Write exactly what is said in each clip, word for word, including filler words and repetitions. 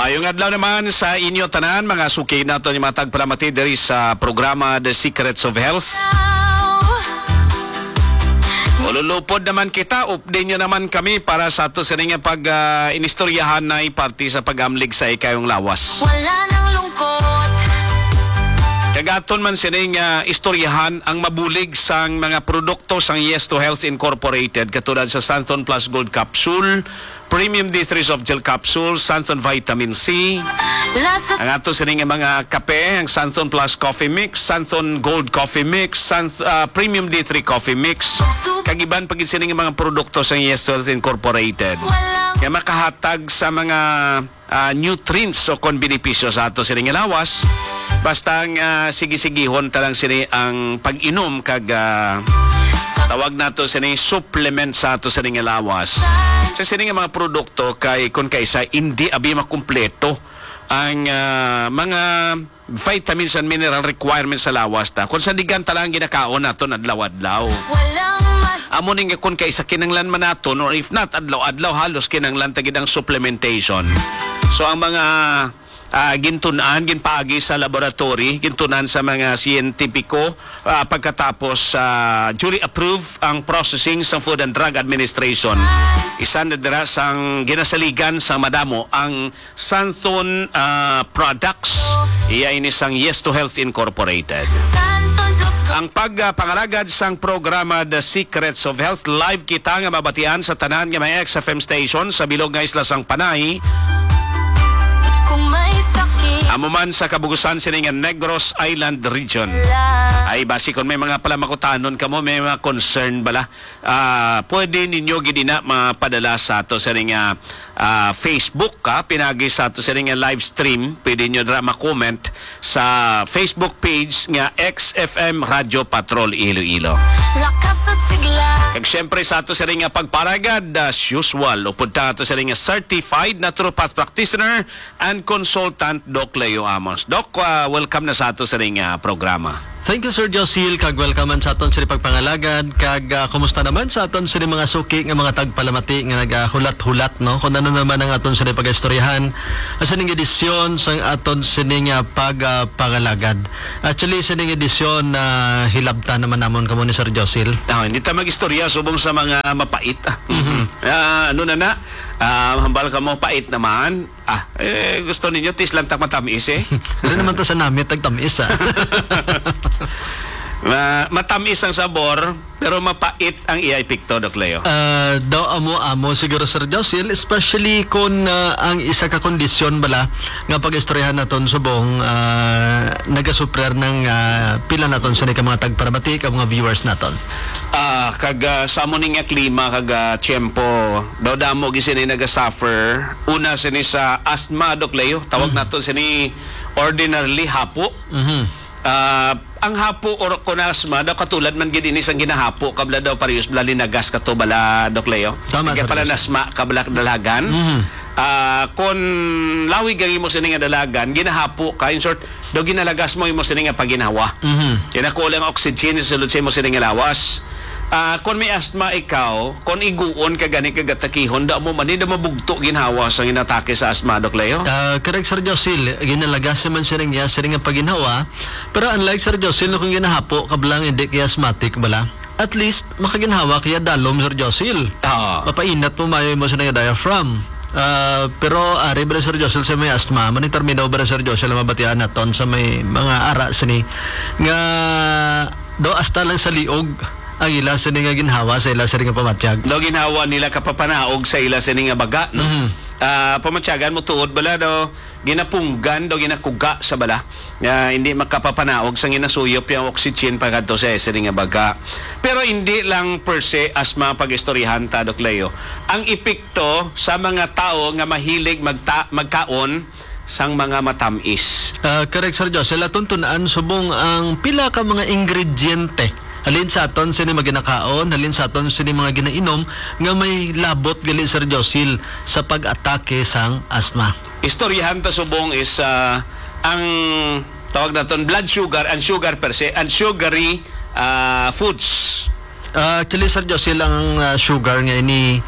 Maayong adlaw naman sa inyo tanan, mga suki naton, mga tagpalamati diri sa programa The Secrets of Health. Ululupod naman kita, updi nyo naman kami para sa ato sini nga pag, ah, inistoryahan na parte sa pag-amlig sa ikayong lawas. Wala nang lungkot. Kag aton man sini nga istoryahan ang mabulig sang mga produkto sang Yes to Health Incorporated, katulad sa Santon Plus Gold Capsule, Premium D three Soft Gel Capsule, Santon Vitamin C, Lasa ang ato sini nga mga kape, ang Santon Plus Coffee Mix, Santon Gold Coffee Mix, San-, ah, Premium D three Coffee Mix, kag iban pa gid sini nga mga produkto sa Yes Health Incorporated nga makahatag sa mga, ah, nutrients o kon benepisyo sa ato sini nga lawas. Basta ang, ah, sige-sigihon ta lang sini ang pag-inom kag, ah, tawag nato sini supplement sa ato sini nga lawas. Sa sini nga mga produkto kay kun kaisa hindi abi makumpleto ang, ah, mga vitamins and mineral requirements sa lawas ta. Kung sandigan ta lang ginakaon naton adlaw-adlaw. Walang ma- Amo ning kun kaisa kinanglan man naton, or if not adlaw-adlaw, halos kinanglan ta gid ang supplementation. So ang mga, ah, gintun-an, ginpaagi sa laboratory, gintun-an sa mga siyentipiko, ah, pagkatapos, ah, jury approve ang processing sa Food and Drug Administration. Isa na dira sang ginasaligan sa madamo ang Santon, ah, Products. Iya ini sang Yes to Health Incorporated. Ang pag, ah, pangalagad sang programa The Secrets of Health, live kita nga mabatian sa tanan nga may X F M station sa bilog nga isla sang Panay. Kung may sakit Amo man sa kabugusan sini nga Negros Island Region. Ay, basi kung may mga palamakutanon kamo, may mga concern bala, ah, pwede ninyo gid ina mapadala sa ato sa ring, ah, ah, Facebook, ha, pinagi sa ato sa ring, ah, live stream. Pwede nyo dira ma-comment sa Facebook page nga X F M Radio Patrol Iloilo. Lakas at sigla. Kag syempre sa ato sa ring, ah, pagparagad, as usual, upod ta ato sa ring, ah, certified naturopath practitioner and consultant, Doc Leo Amos. Doc, ah, welcome na sa ato sa ring, ah, programa. Thank you, Sir Josil, kag welcome man sa aton sini pagpangalagad, kag, ah, kumusta naman sa aton sini mga suki nga mga tagpalamati nga nagahulat-hulat, no? Kung ano naman ang aton sini pag-istoryahan, ah, sining edisyon sang aton sini nga pag, ah, pangalagad. Actually, sining edisyon na hilabtan naman namon kamo ni Sir Josil. Ah, hindi ta mag-istorya subong sa mga mapait, ah. Mhm. Ah, ano na na? Ah, hambal ka mo, pait naman. Ah, eh, gusto ninyo, tis lang ta matamis, eh. Dili naman ta sa namit, tagtamis, ah. Ma-, matamis ang sabor, pero mapait ang iya epekto, Doc Leo. Ah, daw amo-amo siguro, Sir Josil, especially kung, ah, ang isa ka kondisyon bala nga pag-istoryahan naton subong, ah, nagasuprer ng, ah, pila naton sa ka mga tagparamati, ka mga viewers naton. Ah, kag, ah, sa amo ni nga klima kag, ah, tiyempo, daw damo gid sini nagasuffer. Una sini sa asthma, Doc Leo. Tawag Mm. nato sini ordinarily hapo. Mhm. Ah, ang hapo or kon asthma daw katulad man gid ini sang ginahapo kabla daw parehas bala linagas kato bala, Doc Leo. Tama, Kay Sir pala Jose. Nasma kabla dalagan. Mhm. Ah, kon lawig ang imo sini nga dalagan, ginahapo ka, in short, daw ginalagas mo imo sini nga paginhawa. Mhm. Kaya nakulang oxygen sa sulod sa imo sini nga lawas. Ah, kon may asthma ikaw, kon iguon ka gani kag atakihon, da mo man, da mabugto ginhawa sa ginatake sa asthma, Doc Leo? Ah, correct, Sir Josil. Ginalagas man siya rin niya, siya rin nga paginhawa. Pero unlike, Sir Josil, no, kung ginahapo, kablang hindi kay asthmatic bala. At least, makaginhawa kaya dalom, Sir Josil. Ah. Mapainat mo mayo mo sa nga diaphragm. Ah, pero ari ba, Sir Josil, sa may asthma, manitarminaw ba, Sir Josil, ang mabatian naton sa may mga ara sini nga do hasta lang sa liog ang ila sini nga ginhawa sa ila sini nga pamatyag? Daw ginhawa nila kapapanaog sa ila sini nga baga, no? Mhm. Ah, pamatyagan mo tuod bala daw ginapunggan, daw ginakuga sa bala nga hindi makapapanaog sa ginasuyop yung oxygen pagkadto sa sini nga baga. Pero hindi lang per se asthma pag-istoryahan ta, Doc Leo. Ang epekto sa mga tao nga mahilig magta-, magkaon sang mga matamis. Ah, correct, Sir Josel. Aton tun-an subong ang pila ka mga ingrediente halin sa aton sini mga ginakaon, halin sa aton sini mga ginainom nga may labot gali, Sir Josil, sa pag-atake sang asma. Istoryahan ta subong is, ah, ang tawag naton blood sugar and sugar per se and sugary, ah, foods. Ah, actually, Sir Josil, ang, ah, sugar nga ini,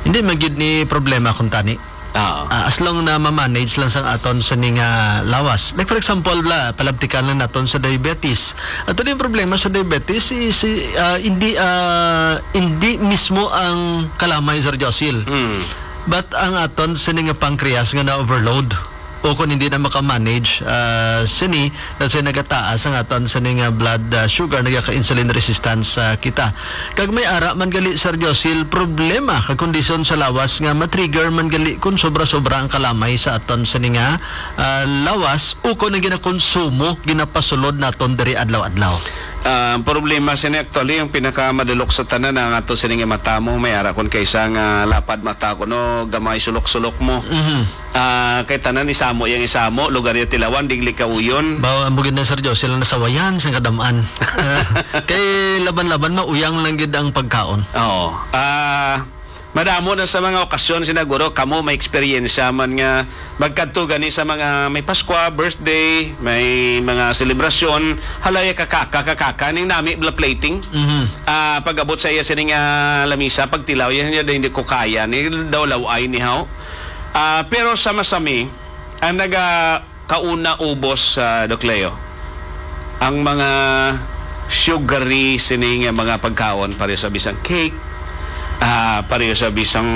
hindi man gid ni problema kung tani. Ah, as long na ma-manage lang sang aton sini nga lawas. Like, for example, bala, palabtikan lang naton sa diabetes. Ato din problema sa diabetes is, ah, hindi, ah, hindi mismo ang kalamay, Sir Josil. Mm. But ang aton sini nga pancreas nga na-overload o kung hindi na maka-manage, ah, sini, that's why nagataas ang aton sini nga blood, ah, sugar, nagaka-insulin resistance, ah, kita. Kag may ara man gali, Sir Josil, problema kag kondisyon sa lawas nga ma-trigger man gali kung sobra-sobra ang kalamay sa aton sini nga, ah, lawas ukon ang ginakonsumo, ginapasulod naton diri adlaw-adlaw. Ah, ang problema sini actually, ang pinakamadulok sa tanan, ang ato sini nga mata mo, may ara kon kaysa nga lapad mata ko, no, gamay sulok-sulok mo. Mhm. Ah, kay tanan isamo yang isamo, lugar ya tilawan, digli kauyon. Bawa, amo gid na, Sir Joe, sila nasawayan sa kadam-an. Kay laban-laban, mauyang lang gid ang pagkaon. Oo. Ah, madamo na sa mga okasyon, sinaguro, kamo may eksperyensya man nga magkadto gani sa mga may Paskwa, birthday, may mga selebrasyon, halaya kakaka, kakaka, ning nami bla plating. Mhm. Ah, pag-abot sa iya sini nga lamisa, pagtilaw, yan, yan, hindi ko kaya, ni daw laway, ni haw. Ah, pero sa masami, ang naga kauna ubos, ah, Doc Leo, ang mga sugary sini nga mga pagkaon, pareho sa bisang cake, ah, pareho sa bisang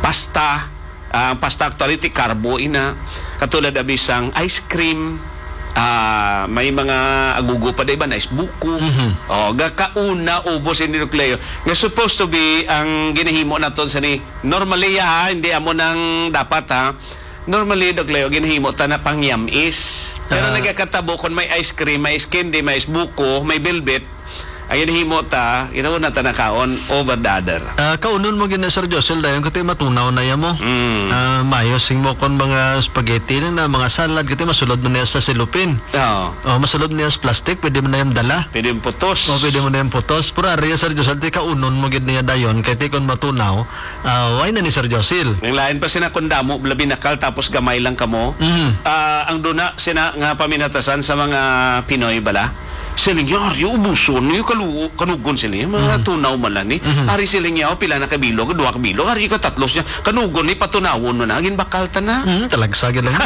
pasta. Ah, ang pasta actually ti carbo ina, katulad abi sang ice cream, ah, may mga agugo pa, di ba, na ice buko. Mhm. O, ga kauna ubos ini, Doc Leo, nga supposed to be ang ginahimo naton sa ni normally, ha, hindi amo nang dapat, ha. Normally, Doc Leo, ginahimo ta na pangyam-is. Pero Ah. nagakatabo kung may ice cream, may ice candy, may ice buko, may velvet, ang ginahimo ta, ginauna ta na kaon over the other. Ah, kaunon mo gina, Sir Josel, dayon kay matunaw na ya mo. Mm. Ah, mayo sing mo kon mga spaghetti na, mga salad, kay masulod mo niya sa silupin. Oo. O, masulod niya sa plastic, pwede mo na yung dala. Pwede yung putos. O, pwede mo na yung putos. Pero ari, Sir Josel, ti kaunon mo gid niya dayon, kay ti kon matunaw, ah, why na ni Sir Josil? Ang lain pa sina kun damo, labi nakal, tapos gamay lang kamo. Mhm. Ah, ang duna sina nga paminatasan sa mga Pinoy bala. Siling niya, "Ari, ubuson niyo, kalu-, kanugon," siling niya. Mga Mhm. tunaw man lang ni. Mhm. Ari siling niya, "O, pila na ka bilog? Duha ka bilog." Ari ka tatlo siya. "Kanugon ni, patunawon mo na. Ginbakal ta na." Mhm, talagsa gid lang.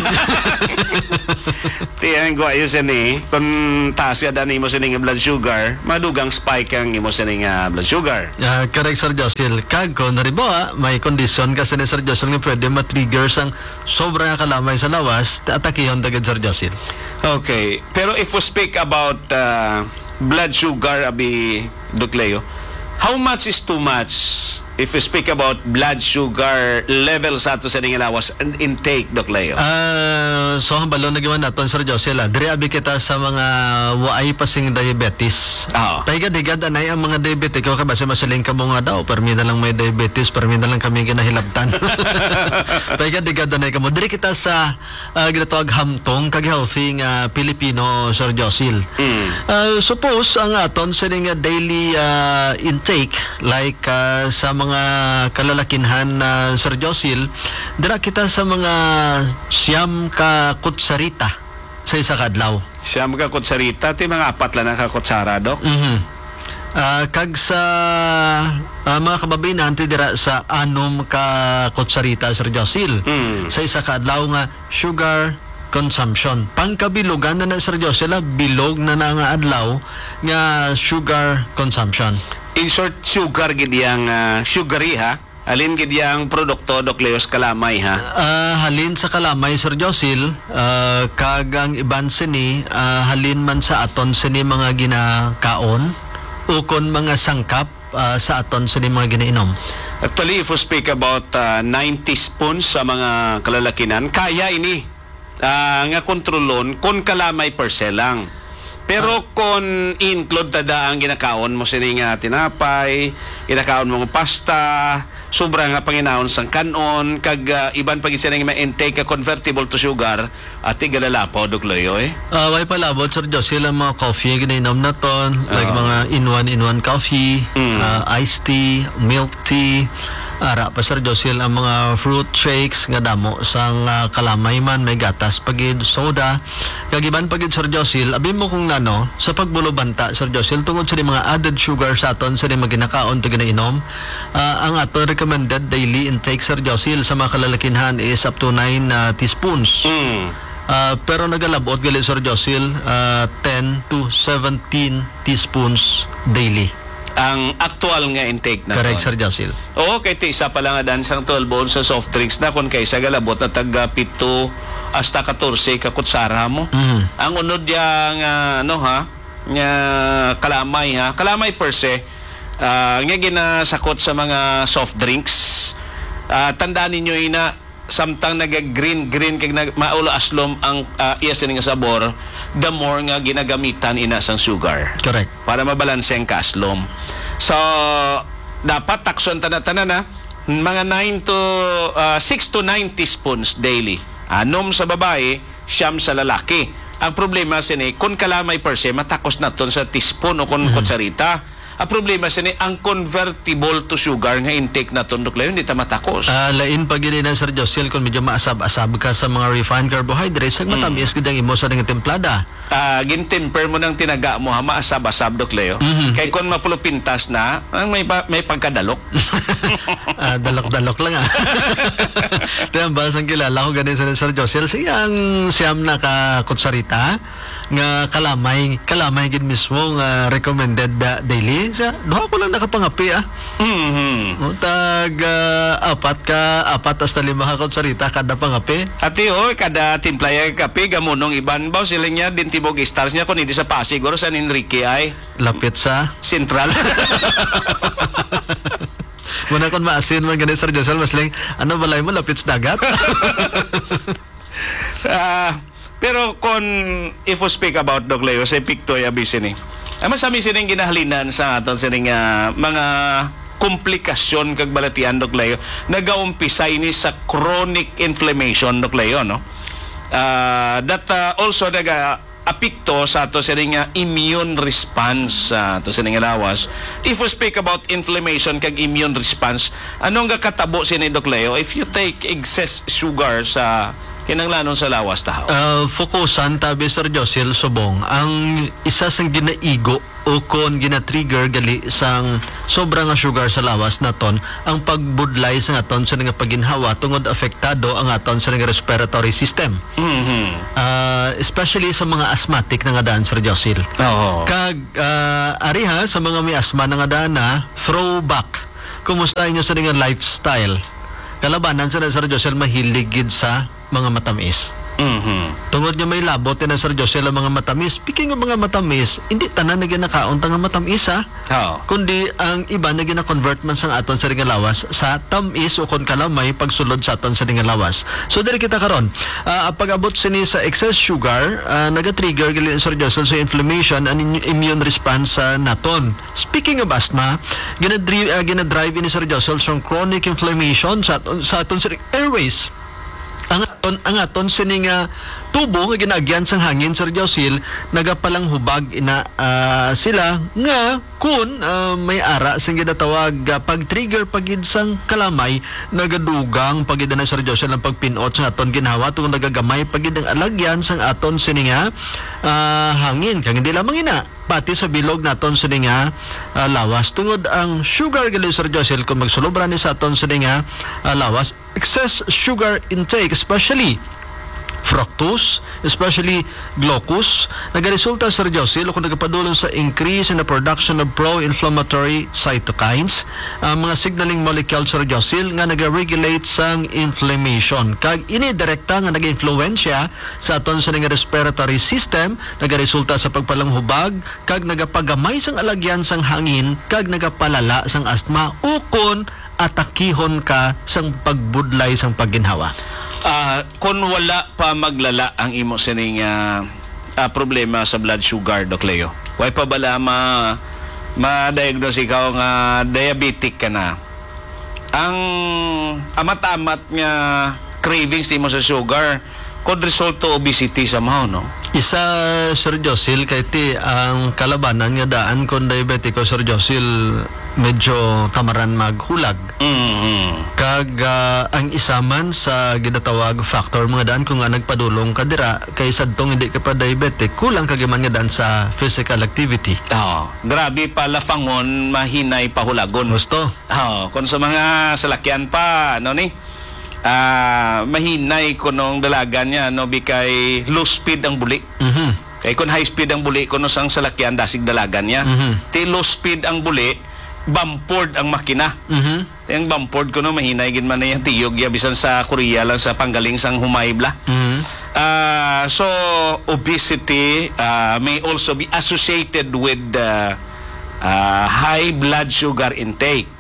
Ti ang guwayo siya ni, kung taas ka daan imo sining blood sugar, madugang spike ang imo sining, ah, blood sugar. Ah, correct, Sir Josil. Kag kung halimbawa, may kondisyon ka sini, Sir Josil, nga pwede ma-trigger sang sobra nga kalamay sa lawas, atakihon ta gid, Sir Josil. Okay. Pero if we speak about, ah, blood sugar, abi, Doc Leo, how much is too much if we speak about blood sugar level sa ato sa ning lawas and intake, Doc Leo? Ah, so, ang balon na giwan naton, Sir Josil, ah, diri abi kita sa mga waay pa sing diabetes. Oo. Pahigad-higad anay ang mga diabetiko, kay basi masiling ka mo nga daw, "Permi na lang may diabetes, permi na lang kami ginahilabtan." Pahigad-higad anay kamo. Diri kita sa, ah, ginatawag hamtong kag healthy nga Pilipino, Sir Josil. Mm. Ah, suppose ang aton sini nga daily, ah, intake, like, ah, sa mga kalalakinhan, ah, Sir Josil, dira kita sa mga siyam ka kutsarita sa isa ka adlaw. Siyam ka kutsarita, ti mga apat lang na ka kutsara, Doc? Mhm. Ah, kag sa, ah, mga kababayen-an, ti dira sa anom ka kutsarita, Sir Josil, Mm. sa isa ka adlaw nga sugar consumption. Pangkabilugan na na, Sir Josil, ah, bilog na na nga adlaw nga sugar consumption. In short, sugar gid yang, ah, sugary, ha? Halin gid yang produkto, Doc Leo, sa kalamay, ha? Ah, halin sa kalamay, Sir Josil, ah, kag ang iban sini, ah, halin man sa aton sini mga ginakaon, ukon mga sangkap, ah, sa aton sini mga ginainom. Actually, if we speak about, ah, nine teaspoons sa mga kalalakinan, kaya ini, ah, nga kontrolon kon kalamay per se lang. Pero Ah. kon i-include ta da ang ginakaon mo sini nga tinapay, ginakaon mo nga pasta, sobra nga panginaon sang kan-on, kag, ah, iban pa gid sini nga ma-intake nga convertible to sugar, ati galalapaw, Doc Leo, eh. Ah, way palabot, Sir Josie, ang mga coffee nga ginainom naton, like Ah. mga in one, in one coffee, Mm. ah, iced tea, milk tea, Ara pa, Sir Josil, ang mga fruit shakes nga damo sang, ah, kalamay man, may gatas pa gid, soda. Kag iban pa gid, Sir Josil, abi mo kung nano, sa pagbulobanta, Sir Josil, tungod sa mga added sugar sa aton sa mga ginakaon to ginainom, ah, ang aton recommended daily intake, Sir Josil, sa mga kalalakinhan is up to nine, ah, teaspoons. Mm. Ah, pero nagalabot gali, Sir Josil, ah, ten to seventeen teaspoons daily. Ang aktual nga intake na Correct, ton. Sir Josil. Oo, kay ti isa pa lang nga dan sang twelve ounces soft drinks na, kung kaysa galabot na tag, ah, pito hasta katorse ka kutsara mo. Mhm. Ang unod ya nga, ano, ha, nga kalamay, ha, kalamay per se, ah, nga ginasakot sa mga soft drinks. Ah, tandaan ninyo ina, samtang naga-green, green kag nag-, maulo aslom ang, ah, iya sini nga sabor, the more nga ginagamitan ina sang sugar. Correct. Para mabalanse ang kaaslom. So, dapat takson tanan-tanan na mga nine to, ah, six to nine teaspoons daily. Anom sa babayi, siyam sa lalaki. Ang problema sini, kung kalamay per se, matakos naton sa teaspoon o kung Mhm. kutsarita. Ang problema sini, ang convertible to sugar nga intake naton, Doc Leo, hindi ta matakos. Ah, lain pa gid na, Sir Josel, kung medyo maasab-asab ka sa mga refined carbohydrates, ang Mhm. matamis gid ang imo sa nga timplada. Ah, gintemper mo ng tinaga mo, ha, maasab-asab, Doc Leo. Mhm. Kay kung mapulupintas na, ang may pa-, may pagkadalok. Ah, dalok-dalok lang, ah. Ito ang bahal sang kilala ko gani sa Sir Josel. Siya ang siyam na ka kutsarita nga kalamay, kalamay gid mismo nga recommended da-, daily. Siya, duha ko lang nakapangapi, ah. Mhm. O, tag, ah, apat ka, apat hasta lima ka kutsarita kada pangapi. Ati, oy, kada timpla ya kape, gamunong iban ba? Sila niya, din Tibog Stars niya, kung hindi sa Pasig, or San Enrique ay Lapit sa? Central. Muna kung maasin man gani, Sir Josel, mas lang, ano balay mo, lapit sa dagat? Ah, pero kung if we speak about, Doc Leo, sa epekto ay abisi ni. Ang mas abisi ning ginahalinan sa aton sining, ah, mga komplikasyon kag balatian, Doc Leo, nagaumpisa ini sa chronic inflammation, Doc Leo, no? Ah, that, ah, also naga apekto sa ato sining, ah, immune response sa ato sining lawas. If we speak about inflammation kag immune response, anong gakatabo sini, Doc Leo, if you take excess sugar sa kinahanglanon sa lawas tahaw? Ah, fokusan tabi, Sir Josil, subong ang isa sang ginaigo o kon gina-trigger gali sang sobra nga sugar sa lawas naton ang pagbudlay sa aton sa nga paginhawa tungod apektado ang aton sa nga respiratory system. Mhm. Ah, especially sa mga asthmatic na nga daan, Sir Josil. Oo. Kag, ah, ari ha, sa mga may asma na nga daan na, throwback. Kumusta inyo sa nga lifestyle? Kalabanan sa Sir Josil, mahilig gid sa mga matamis. Mhm. Tungod nga may labot na, Sir Josel, ang mga matamis. Speaking of mga matamis, hindi tanan na ginakaon ta nga matamis, ha? Oo. Kundi ang iba na gina-convert man sang aton sa nga lawas sa tamis o kon kalamay pagsulod sa aton sa nga lawas. So, diri kita karon. Ah, pag-abot sini sa excess sugar, ah, naga-trigger gali, Sir Josel, sa inflammation and in-, immune response sa naton. Speaking of asthma, ginadri-, ah, ginadrive ini, Sir Josel, sa chronic inflammation sa aton, sa aton sa airways. Ang aton, ang aton sini nga tubo nga ginaagyan sang hangin, Sir Josil, nagapalanghubag ina, ah, sila nga kun, ah, may ara sing ginatawag, ah, pag-trigger pa gid sang kalamay, nagadugang pa gid na, Sir Josil, ang pagpin-ot sa aton ginhawa tungod nagagamay pa gid ang alagyan sang aton sini nga, ah, hangin. Kag hindi lamang ina, pati sa bilog naton sini nga, ah, lawas. Tungod ang sugar gali, Sir Josil, kung magsulobra ni sa aton sini nga, ah, lawas, excess sugar intake, especially fructose, especially glucose, nagaresulta, Sir Josil, o kung nagapadulong sa increase in the production of pro-inflammatory cytokines, ang mga signaling molecule, Sir Josil, nga nagaregulate sang inflammation. Kag ini direkta nga nagainfluensya sa aton sa nga respiratory system, nagaresulta sa pagpalanghubag, kag nagapagamay sang alagyan sang hangin, kag nagapalala sang asthma, ukon atakihon ka sang pagbudlay sang pagginhawa? Ah, kung wala pa maglala ang imo sining, ah, ah, problema sa blood sugar, Doc Leo, way pa bala ma-, ma-diagnose ikaw nga diabetic ka na? Ang amat-amat nga cravings nimo sa sugar, could result to obesity somehow, no? Isa, Sir Josil, kay ti ang kalabanan nga daan kon diabetiko, Sir Josil, medyo tamaran maghulag. Mm-hmm. Kag, ah, ang isa man sa ginatawag factor mga daan kung nga nagpadulong ka dira kay sadtong hindi ka pa diabetic, kulang ka giman nga daan sa physical activity. Oo. Grabe pa lafangon, mahinay pahulagon. Gusto? Oo. Kung sa mga salakyan pa, ano ni? Ah, mahinay kunong dalagan niya, no, bikay low speed ang buli. Mhm. Kay kun high speed ang buli, kuno sang salakyan, dasig dalagan niya. Mhm. Ti low speed ang buli, bampered ang makina. Mhm. Ti ang bampered kuno, mahinay gid man na yung tiyog ya, bisan sa Korea lang, sa panggaling sang humay bla. Mhm. Ah, so, obesity, ah, may also be associated with, ah, ah, high blood sugar intake.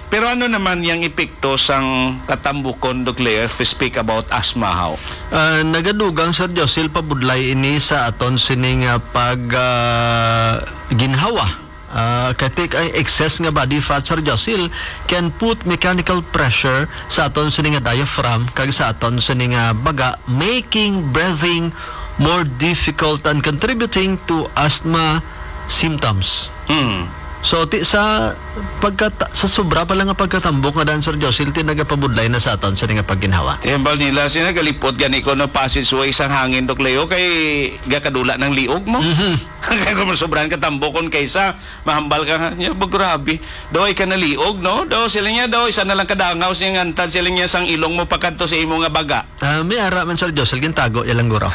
Pero ano naman yang epekto sang katambukon, Doc Leo, if we speak about asthma, how? Ah, nagadugang, Sir Josil, pabudlay ini sa aton sini nga pag, ah, ginhawa. Ah, kay ti ang excess nga body fat, Sir Josil, can put mechanical pressure sa aton sini nga diaphragm kag sa aton sini nga baga, making breathing more difficult and contributing to asthma symptoms. Hmm. So, ti, sa pagkata-, sa sobra pa lang nga pagkatambok nga daan, Sir Josil, ti nagapabudlay na sa aton sini nga pagginhawa. Ti hambal nila, sina galipot gani ko no passageway sang hangin, Doc Leo, kay gakadula ng liog mo. Mhm. Kay kung sobran ka tambok kon kaysa, mahambal ka nga, "Nya, ba, grabe. Daw ay ka naliog, no? Daw sila niya, daw isa na lang kadangaw siya ngantad sila niya sang ilong mo pakadto sa imo nga baga." Ah, may ara man, Sir Josel, gintago ya lang guro.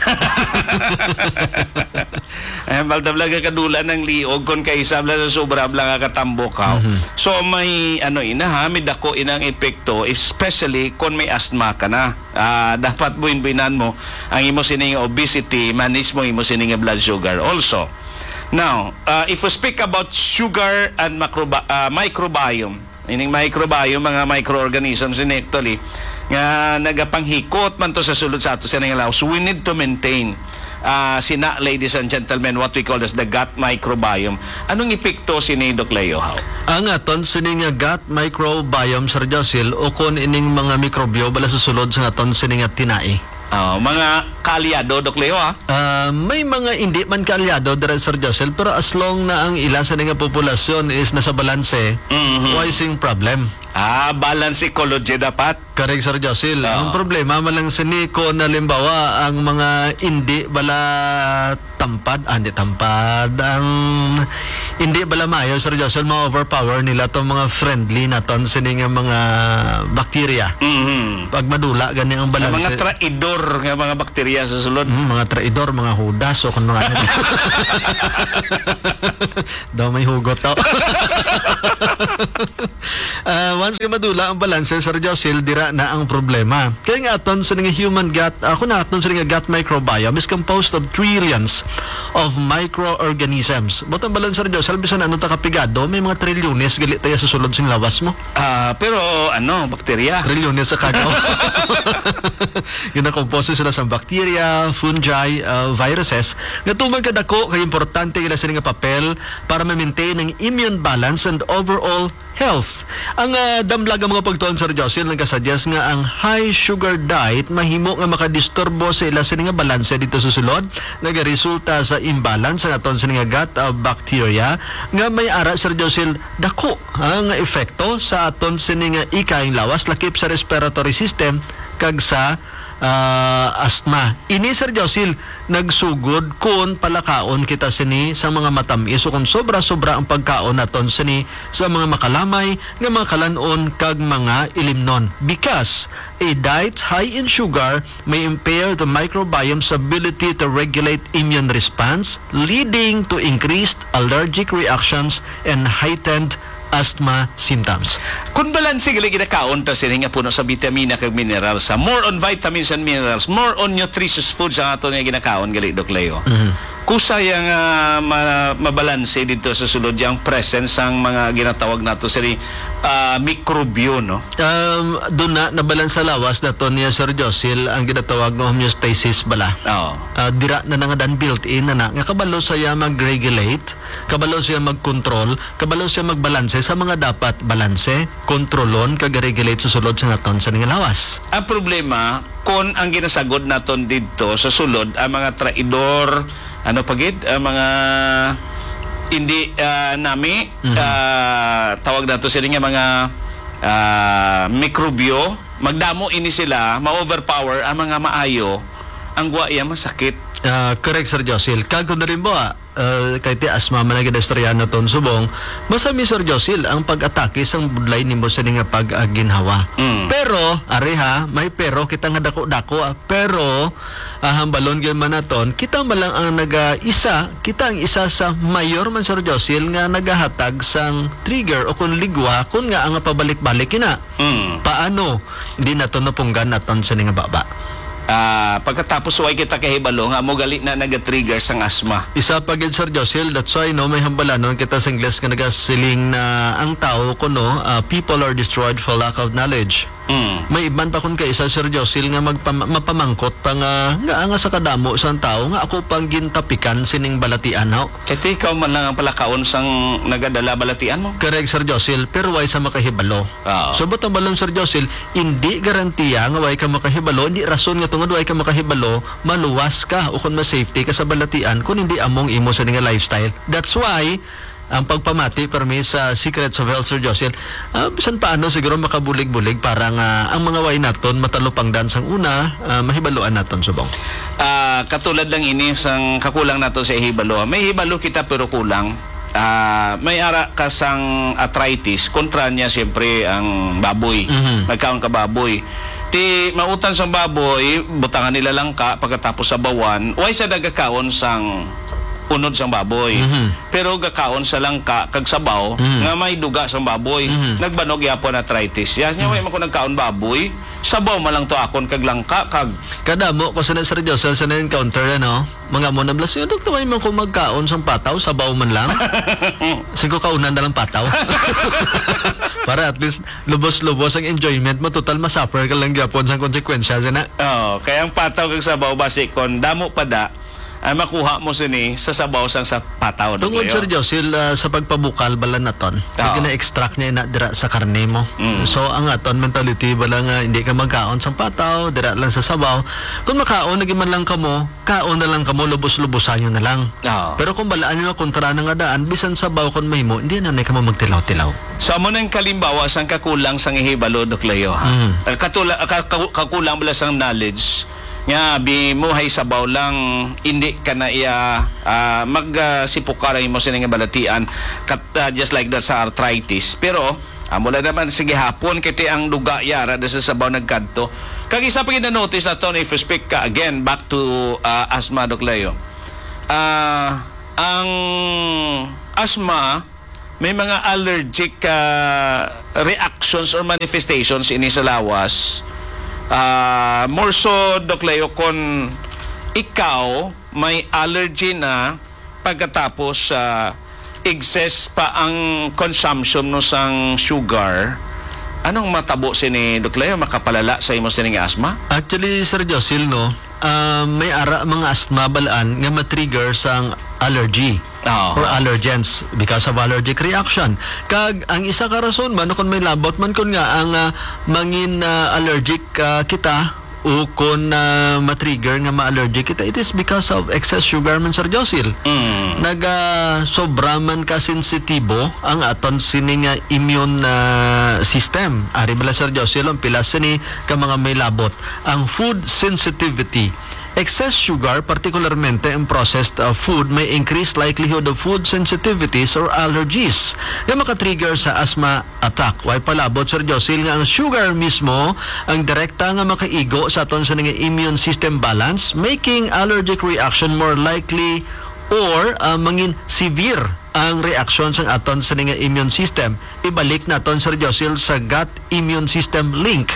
Ay, hambal daw lang kadula ng liog kon kaysa bla sa sobra bla nga katambok, ha? Mhm. So, may, ano, ina, ha, may dako inang epekto, especially kon may asthma ka na. Ah, dapat buin-buinan mo ang imo sining obesity, manage mo imo sining blood sugar also. Now, ah, if we speak about sugar and macrobi-, ah, microbiome, ining microbiome, mga microorganisms ini actually, nga nagapanghikot man to sa sulod sa ato sa lawas, we need to maintain, ah, sina, ladies and gentlemen, what we call as the gut microbiome. Anong epekto sini, Doc Leo, how? Ang aton sini nga gut microbiome, Sir Josil, ukon ining mga mikrobyo bala sa sulod sa aton sini nga tinai. Oh, mga kaalyado, Doc Leo, ah? Ah, may mga hindi man kaalyado dira, Sir Josil, pero as long na ang ila sa nga populasyon is nasa balanse, mhm, why sing problem? Ah, balance ecology dapat. Correct, Sir Josil. Oo. Ang problema man lang sini kung halimbawa ang mga hindi bala tampad, ah, hindi tampad, ang hindi bala maayo, Sir Josil, ma-overpower nila tong mga friendly naton sini nga mga bakterya. Mhm. Pag madula gani ang balanse. Ang mga traidor nga mga bakterya sa sulod. Mm, mga traidor, mga hudas, o kung mga ano. Daw may hugot daw. Ah, once nga madula ang balanse, Sir Josil, dira na ang problema. Kaya nga aton sa nga human gut, ah, kung aton sa nga gut microbiome is composed of trillions of microorganisms. But ang balanse, Sir Josil, bisan ano ta kapigado, may mga trilyones gali tayo sa sulod sing lawas mo. Ah, pero ano, bakterya? Trilyones sa kagaw. Ginakomposto sila sa bacteria, fungi, ah, viruses, nga tuman kadako kay importante gila sila nga papel para ma-maintain ang immune balance and overall health. Ang, ah, damlag nga mga pagtuon, Sir Jocelyn, nagkasuggest nga ang high sugar diet mahimo nga makadisturbo sa ila sini nga balanse dito sa sulod, nagaresulta sa imbalance sa aton sini nga gut, ah, bacteria nga may ara, Sir Jocelyn, dako, ah, nga epekto sa aton sini nga ikayang lawas, lakip sa respiratory system kag sa ah, asthma. Ini, Sir Josil, nagsugod kon palakaon kita sini sa mga matamis o kon sobra-sobra ang pagkaon naton sini sa mga makalamay nga mga kalan-on kag mga ilimnon. Because a diet high in sugar may impair the microbiome's ability to regulate immune response, leading to increased allergic reactions and heightened asthma symptoms. Kung balanse gali ginakaon ta sini nga puno sa bitamina kag minerals, ha, more on vitamins and minerals, more on nutritious foods ang ato nga ginakaon gali, Doc Leo. Mhm. Kusaya nga ma-, mabalanse dito sa sulod yang presence sang mga ginatawag nato sini, ah, mikrobyo, no? Um, doon na, nabalan sa lawas nato niya, Sir Josil, ang ginatawag nga homeostasis bala. Oo. Ah, dira na na nga dan built-in na na. Nga kabalo saya mag-regulate, kabalo siya mag-control, kabalo siya magbalanse sa mga dapat balanse, kontrolon, kag regulate sa sulod sa naton sa ning lawas. Ang problema, kon ang ginasagod naton didto sa sulod, ang mga traidor, ano pa gid, ang mga hindi, ah, nami, Mhm. ah, tawag nato sila nga mga, ah, mikrobyo, magdamo ini sila, ma-overpower ang mga maayo, ang gwa iya masakit. Ah, correct, Sir Josil. Kag kung rin ba, ah, kay ti asma man ang ginaistoryahan naton subong, basta mi, Sir Josil, ang pag-atake sang budlay nimo sini nga pag-aginhawa. Mm. Pero, ari ha, may pero kita nga dako-dako, ah, pero, ah, hambalon gyud man naton, kita man lang ang naga-isa, kita ang isa sa mayor man, Sir Josil, nga nagahatag sang trigger o kung ligwa, kung nga ang pabalik-balik ina. Mm. Paano? Di nato napunggan naton sini nga baba. Ah, pagkatapos way kita kahibalo nga mo gali na naga-trigger sang asma. Isa pa gid, Sir Josil, that's why, no, may hambalanon kita sa Ingles nga nagasiling na ang tao kuno, ah, people are destroyed for lack of knowledge. Mm. May iban pa kun kaisa, Sir Josil, nga magpam-, mapamangkot pa nga, nga, nga sa kadamo sang tao nga ako pang gintapikan sining balatian, no? Kay ti ikaw man lang ang palakaon sang nagadala balatian mo. Correct, Sir Josil, pero way sa makahibalo. Oo. So, but ang balon, Sir Josil, hindi garantiya nga way ka makahibalo, hindi rason nga tungod way ka makahibalo, maluwas ka o kung ma-safety ka sa balatian kung hindi among imo sa nga lifestyle. That's why, ang pagpamati permi sa Secrets of Health, Sir Josil, ah, bisan paano siguro makabulig-bulig para nga ang mga way naton matalupangdan sang una, ah, mahibaluan naton subong. Ah, katulad lang ini sang kakulang nato sa hibalo. May hibalo kita pero kulang. Ah, may ara ka sang arthritis, kontra niya siyempre ang baboy. Mhm. Magkaon ka baboy. Ti mautan sang baboy, butangan nila langka pagkatapos sabawan, way sa nagakaon sang unod sang baboy. Mhm. Pero gakaon sa langka kag sabaw Mhm. nga may duga sang baboy. Mhm. Nagbanog yapon arthritis. Yes, nya way Mhm. man ko nagkaon baboy, sabaw man lang to akon kag langka kag Kadamo ko sa na, Sir Josel, sa na-encounter, ano? Mga mo na blas, "Dok, taway man ko magkaon sang pataw, sabaw man lang." Sige, kaunan na lang pataw. Para at least lubos-lubos ang enjoyment mo. Total, masuffer ka lang gyapon sang konsekwensya, sina. Oo, kaya ang pataw kag sabaw, basi kon damo pa da, ay makuha mo sini sa sabaw sang sa pataw, Tungod, Doc Leo. Sir Josil, ah, sa pagpabukal bala naton, Oo. Gina-extract niya ina dira sa karne mo. Mm. So, ang aton mentality bala nga hindi ka magkaon sang pataw, dira lang sa sabaw. Kung makaon lagi man lang kamo, kaon na lang kamo, lubos-lubosan nyo na lang. Oo. Pero kung balaan nyo na kontra na nga daan, bisan sabaw kon mahimo, hindi na na kamo magtilaw-tilaw. So, amo nang kalimbawa sang kakulang sang ihibalo, Doc Leo, ha? Mm. Ah, katula-, ka-, ka-, kakulang bala sang knowledge nga bimuhay sabaw lang, hindi ka na iya, ah, mag, ah, sipukar ang imo sining balatian, kat-, ah, just like that sa arthritis. Pero, amo lang naman, sige hapon, kiti ang duga yara na sa sabaw nagkadto. Kag isa pa gid na-notice naton, if you speak ka, again, back to, ah, asthma, Doc Leo. Ah, ang asthma, may mga allergic, ah, reactions or manifestations ini sa lawas. Ah, more so, Doc Leo, kon ikaw may allergy na pagkatapos, ah, excess pa ang consumption mo sang sugar, anong matabo sini, Doc Leo? Makapalala sa imo sining asthma? Actually, Sir Josil, no, ah, may ara mga asthma balaan nga ma-trigger sang allergy Oo. or allergens because of allergic reaction. Kag ang isa ka rason man kung may labot man kun nga ang, ah, mangin, ah, allergic, ah, kita o kun, ah, ma-trigger nga ma-allergic kita, it is because of excess sugar man, Sir Josil. Mm. Naga sobra man ka sensitibo ang aton sini nga immune, ah, system. Ari bala, Sir Josil, ang pila sini ka mga may labot. Ang food sensitivity. Excess sugar, particularmente ang processed, uh, food, may increased likelihood of food sensitivities or allergies nga makatrigger sa asthma attack. Way palabot, Sir Josil, nga ang sugar mismo ang direkta nga makaigo sa aton sa nga immune system balance, making allergic reaction more likely or, uh, mangin severe ang reaksyon sang aton sa nga immune system. Ibalik naton, Sir Josil, sa gut immune system link.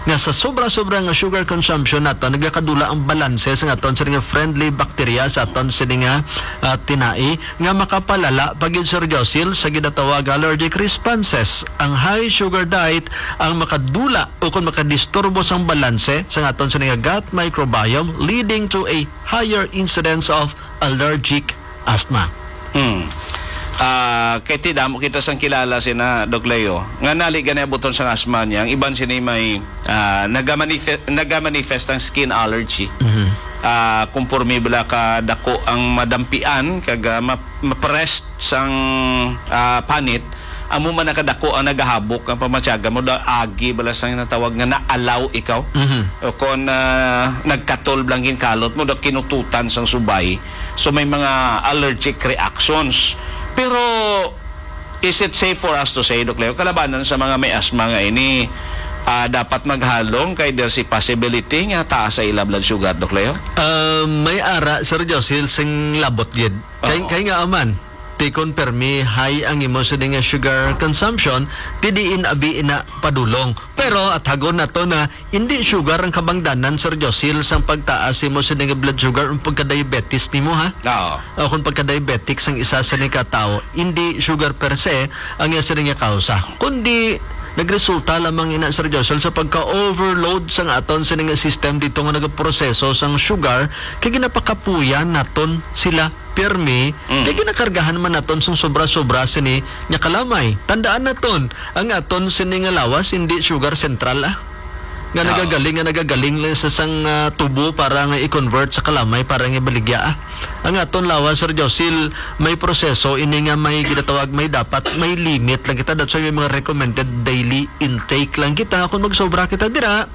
nga sa sobra-sobra nga sugar consumption naton, nagakadula ang balanse sa aton sini nga friendly bacteria sa aton sini nga, ah, tinai, nga makapalala pa gyud, Sir Josil, sa ginatawag allergic responses. Ang high sugar diet ang makadula o kung makadisturbo sang balanse sa aton sini nga gut microbiome, leading to a higher incidence of allergic asthma. Hmm. Ah, kay ti damo kita sang kilala sina Doc Leo, nga nali gani abuton sang asthma niya. Ang iban sini may, ah, nagamanife-, nagamanifest ang skin allergy. Mhm. Ah, kumporme bala ka dako ang madampian kag, ah, ma-, ma-pressed sang, ah, panit, amo man nakadako ang nagahabok ang pamatyagan mo, da agi bala sang natawag nga naalaw ikaw. Mhm. O kon, ah, nagkatol bala ang ginkalot mo, da kinututan sang subay. So, may mga allergic reactions. Pero, is it safe for us to say, Doc Leo, kalabanan sa mga may asthma nga ini, ah, dapat maghalong kay there's a possibility nga taas sa ila blood sugar, Doc Leo? Ah, may ara, Sir Josil, sing labot gid. Kay, Oo. kay nga aman, ti kon permi high ang imo sini nga sugar consumption, ti diin abi ina padulong. Pero athagon nato na hindi sugar ang kabangdanan, Sir Josil, sang pagtaas imo sini nga blood sugar o pagka-diabetes nimo, ha? Oo. O kung pagka-diabetic sang isa sini ka tawo, hindi sugar per se ang iya sini nga kausa, kundi nagresulta lamang ina, Sir Josil, sa pagka-overload sang aton sini nga system dito nga nagaproseso sang sugar, kay ginapakapuyan naton sila pirmi, Mm. kay ginakargahan man naton sang sobra-sobra sini nga kalamay. Tandaan naton, ang aton sini nga lawas hindi sugar central, ah, nga Oo. nagagaling, nga nagagaling lang sa sang, ah, tubo para nga i-convert sa kalamay para nga ibaligya, ah. Ang aton lawas, Sir Josil, may proseso ini nga may ginatawag, may dapat, may limit lang kita. That's why may mga recommended daily intake lang kita. Kung magsobra kita dira,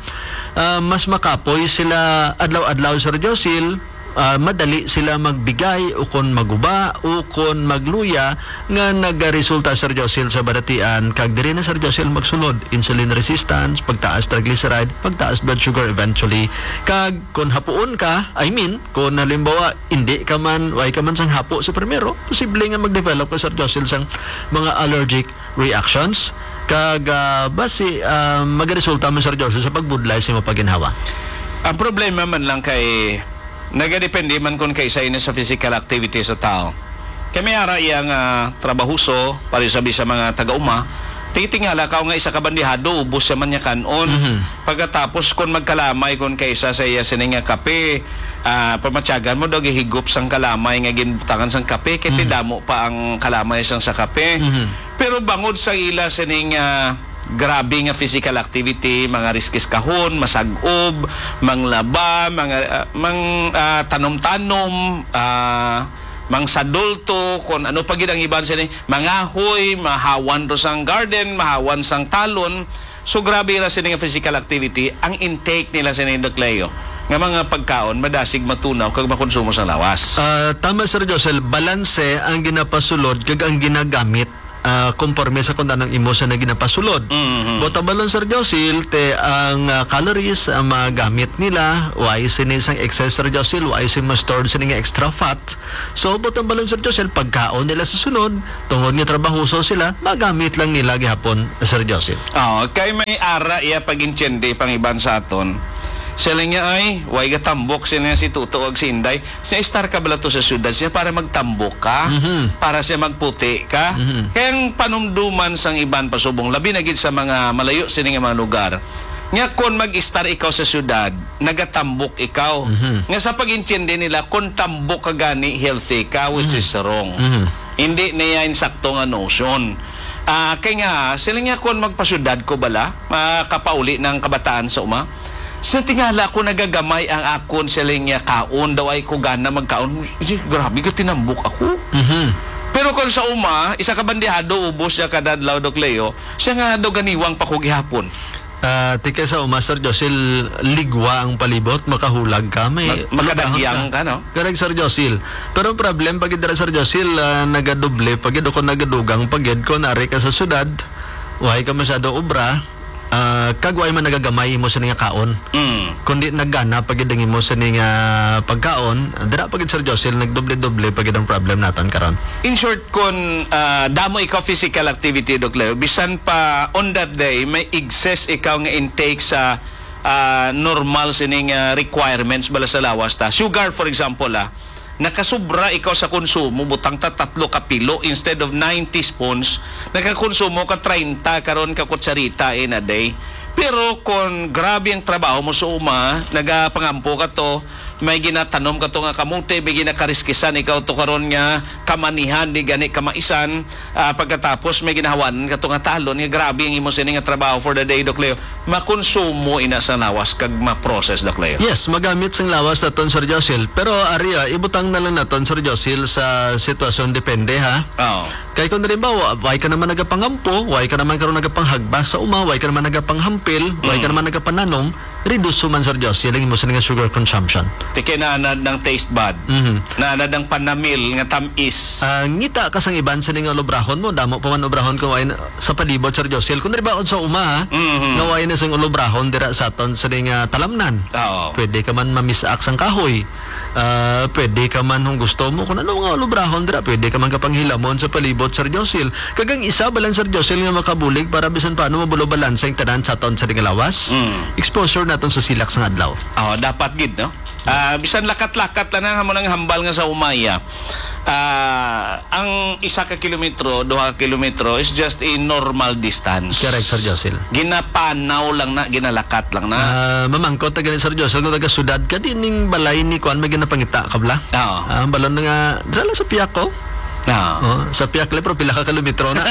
ah, mas makapoy sila adlaw-adlaw, Sir Josil. Ah, madali sila magbigay o kon maguba o kon magluya nga nagaresulta, Sir Josil, sa balatian, kag diri na, Sir Josil, magsulod insulin resistance, pagtaas triglyceride, pagtaas blood sugar eventually. Kag kon hapuon ka, I mean, kon halimbawa, hindi ka man, way ka man sang hapo sa primero, posible nga mag-develop ka, Sir Josil, sang mga allergic reactions. Kag, ah, basi, ah, magaresulta man, Sir Josil, sa pagbudlay sa imong paginhawa. Ang problema man lang kay nagadepende man kon kaisa ini sa physical activity sa tao. Kay may ara iya nga trabahoso, pareho sabi sa mga taga-uma, tingtingala ka nga isa ka bandihado, ubos siya man niya kan-on. Mhm. Pagkatapos, kon magkalamay kon kaisa sa iya sini nga kape, ah, pamatyagan mo daw gihigop sang kalamay nga ginbutangan sang kape, kay Mhm. tidamo pa ang kalamay sang sa kape. Mhm. Pero bangod sa ila sining, ah, grabe nga physical activity, mga riskis kahon, masag-ob, manglaba, mga, ah, mang, ah, tanom-tanom, ah, mangsadulto, kon ano pa gid ang iban sini, mangahoy, mahawan ro sang garden, mahawan sang talon. So, grabe ra sini nga physical activity, ang intake nila sini, Doc Leo, nga mga pagkaon, madasig matunaw kag makonsumo sa lawas. Ah, tama, Sir Josel, balanse ang ginapasulod kag ang ginagamit, ah, konforme sa kung anong imo sa na ginapasulod. Mhm. Buot silingon, Sir Josil, te ang, ah, calories ang magamit nila, why sini sang excess, Sir Josil, why sini ma-store sini nga extra fat. So, buot silingon, Sir Josil, pagkaon nila sa sunod, tungod nga trabahoso sila, magamit lang nila gihapon, Sir Josil. Oh, kay may ara iya pag-intindi pang iban sa aton. Sila niya ay, way gatambok sila si Tuto ag si Inday. Siya, "Istar ka bala to sa syudad siya para magtambok ka, Mhm. para siya magputi ka?" Mhm. Kaya ang panumduman sang iban pasubong, labi na gid sa mga malayo sini nga mga lugar, nga kon mag-istar ikaw sa syudad, nagatambok ikaw. Mhm. Nga sa pag-intindi nila, kung tambok ka gani, healthy ka, which Mhm. is wrong. Mhm. Hindi niya insakto nga notion. Ah, kay nga, sila nga, kung magpasyudad ko bala, makapauli ng kabataan sa uma, sa tingala ko nagagamay ang akon sila nga kaon, daw ay ko gana magkaon. Sige, grabe ka, tinambok ako. Mhm. Pero kung sa uma, isa ka bandihado, ubos siya kada adlaw, Doc Leo, siya nga daw ganiwang pa ko gihapon. Ah, ti kay sa uma, Sir Josil, ligwa ang palibot, makahulag ka, may Ma-, makadagyang ka, no? Correct, Sir Josil. Pero ang problem pa gid dira, Sir Josil, ah, nagadoble pa gid o kung nagadugang pa gid kung nari ka sa syudad, way ka masyado obra, ah, kag way man nagagamay imo sini nga kaon. Mm. Kundi nagana pa gid ang imo sini nga pagkaon, dira pa gid, Sir Josil, nagdoble-doble pa gid ang problem naton karon. In short, Kon, ah, damo ikaw physical activity, Doc Leo, bisan pa on that day, may excess ikaw nga intake sa ah, normal sining, ah, requirements bala sa lawas ta. Sugar, for example, ah, nakasubra ikaw sa konsumo, butang ta tatlo ka pilo instead of nine teaspoons, nakakonsumo ka treinta karon ka kutsarita in a day. Pero kung grabe ang trabaho mo sa uma, nagapangampo ka to, may ginatanom ka to nga kamote, may ginakariskisan ikaw to karon nga kamanihan, di gani kamaisan, ah, pagkatapos may ginahawanan ka to nga talon, nga grabe ang imo sini nga trabaho for the day, Doc Leo. Makonsumo ina sa lawas kag ma-process, Doc Leo. Yes, magamit sang lawas naton, Sir Josil. Pero ari, ah, ibutang na lang naton, Sir Josil, sa sitwasyon depende, ha. Oo. Kay kung halimbawa, way ka naman nagapangampo, way ka naman karon nagapanghagba sa uma, way ka naman nagapanghampil, way ka Mm. naman nagapananom, reduce man, Sir Josil, ang imo sini nga sugar consumption. Ti kay naanad ng taste bud. Mhm. Naanad ng panamil nga tamis. Ah, ngita ka sang iban sini nga ulubrahon mo, damo pa man ulubrahon kung way na, sa palibot, Sir Josil. Kung halimbawa sa uma, ha, Mhm. nga way na sing ulubrahon dira sa aton sini nga talamnan. Oo. Pwede ka man mamisak sang kahoy. Ah, pwede ka man kung gusto mo, kung ano nga ulubrahon dira, pwede ka man kapanghilamon sa palibot, Sir Josil. Kag ang isa ba lang, Sir Josil, nga makabulig para bisan paano mabulo balanse ang tanan sa aton sa nga lawas? Mm. Exposure naton sa silak sa adlaw. Oh, dapat gid, no? Ah, bisan lakat-lakat lang na mo nang hambal nga sa umaya. Ah, ang isa ka kilometro, duha ka kilometro is just a normal distance. Correct, Sir Josil. Ginapanaw lang na, ginalakat lang na. Ah, mamangkot ta gani, Sir Josil, kung taga syudad ka, di ning balay ni kuan may ginapangita ka bala? Oo. Ah, ang balon na nga, dira lang sa piyak ko. Oo. Oh, sa piyak lang, pero pila ka kilometro na.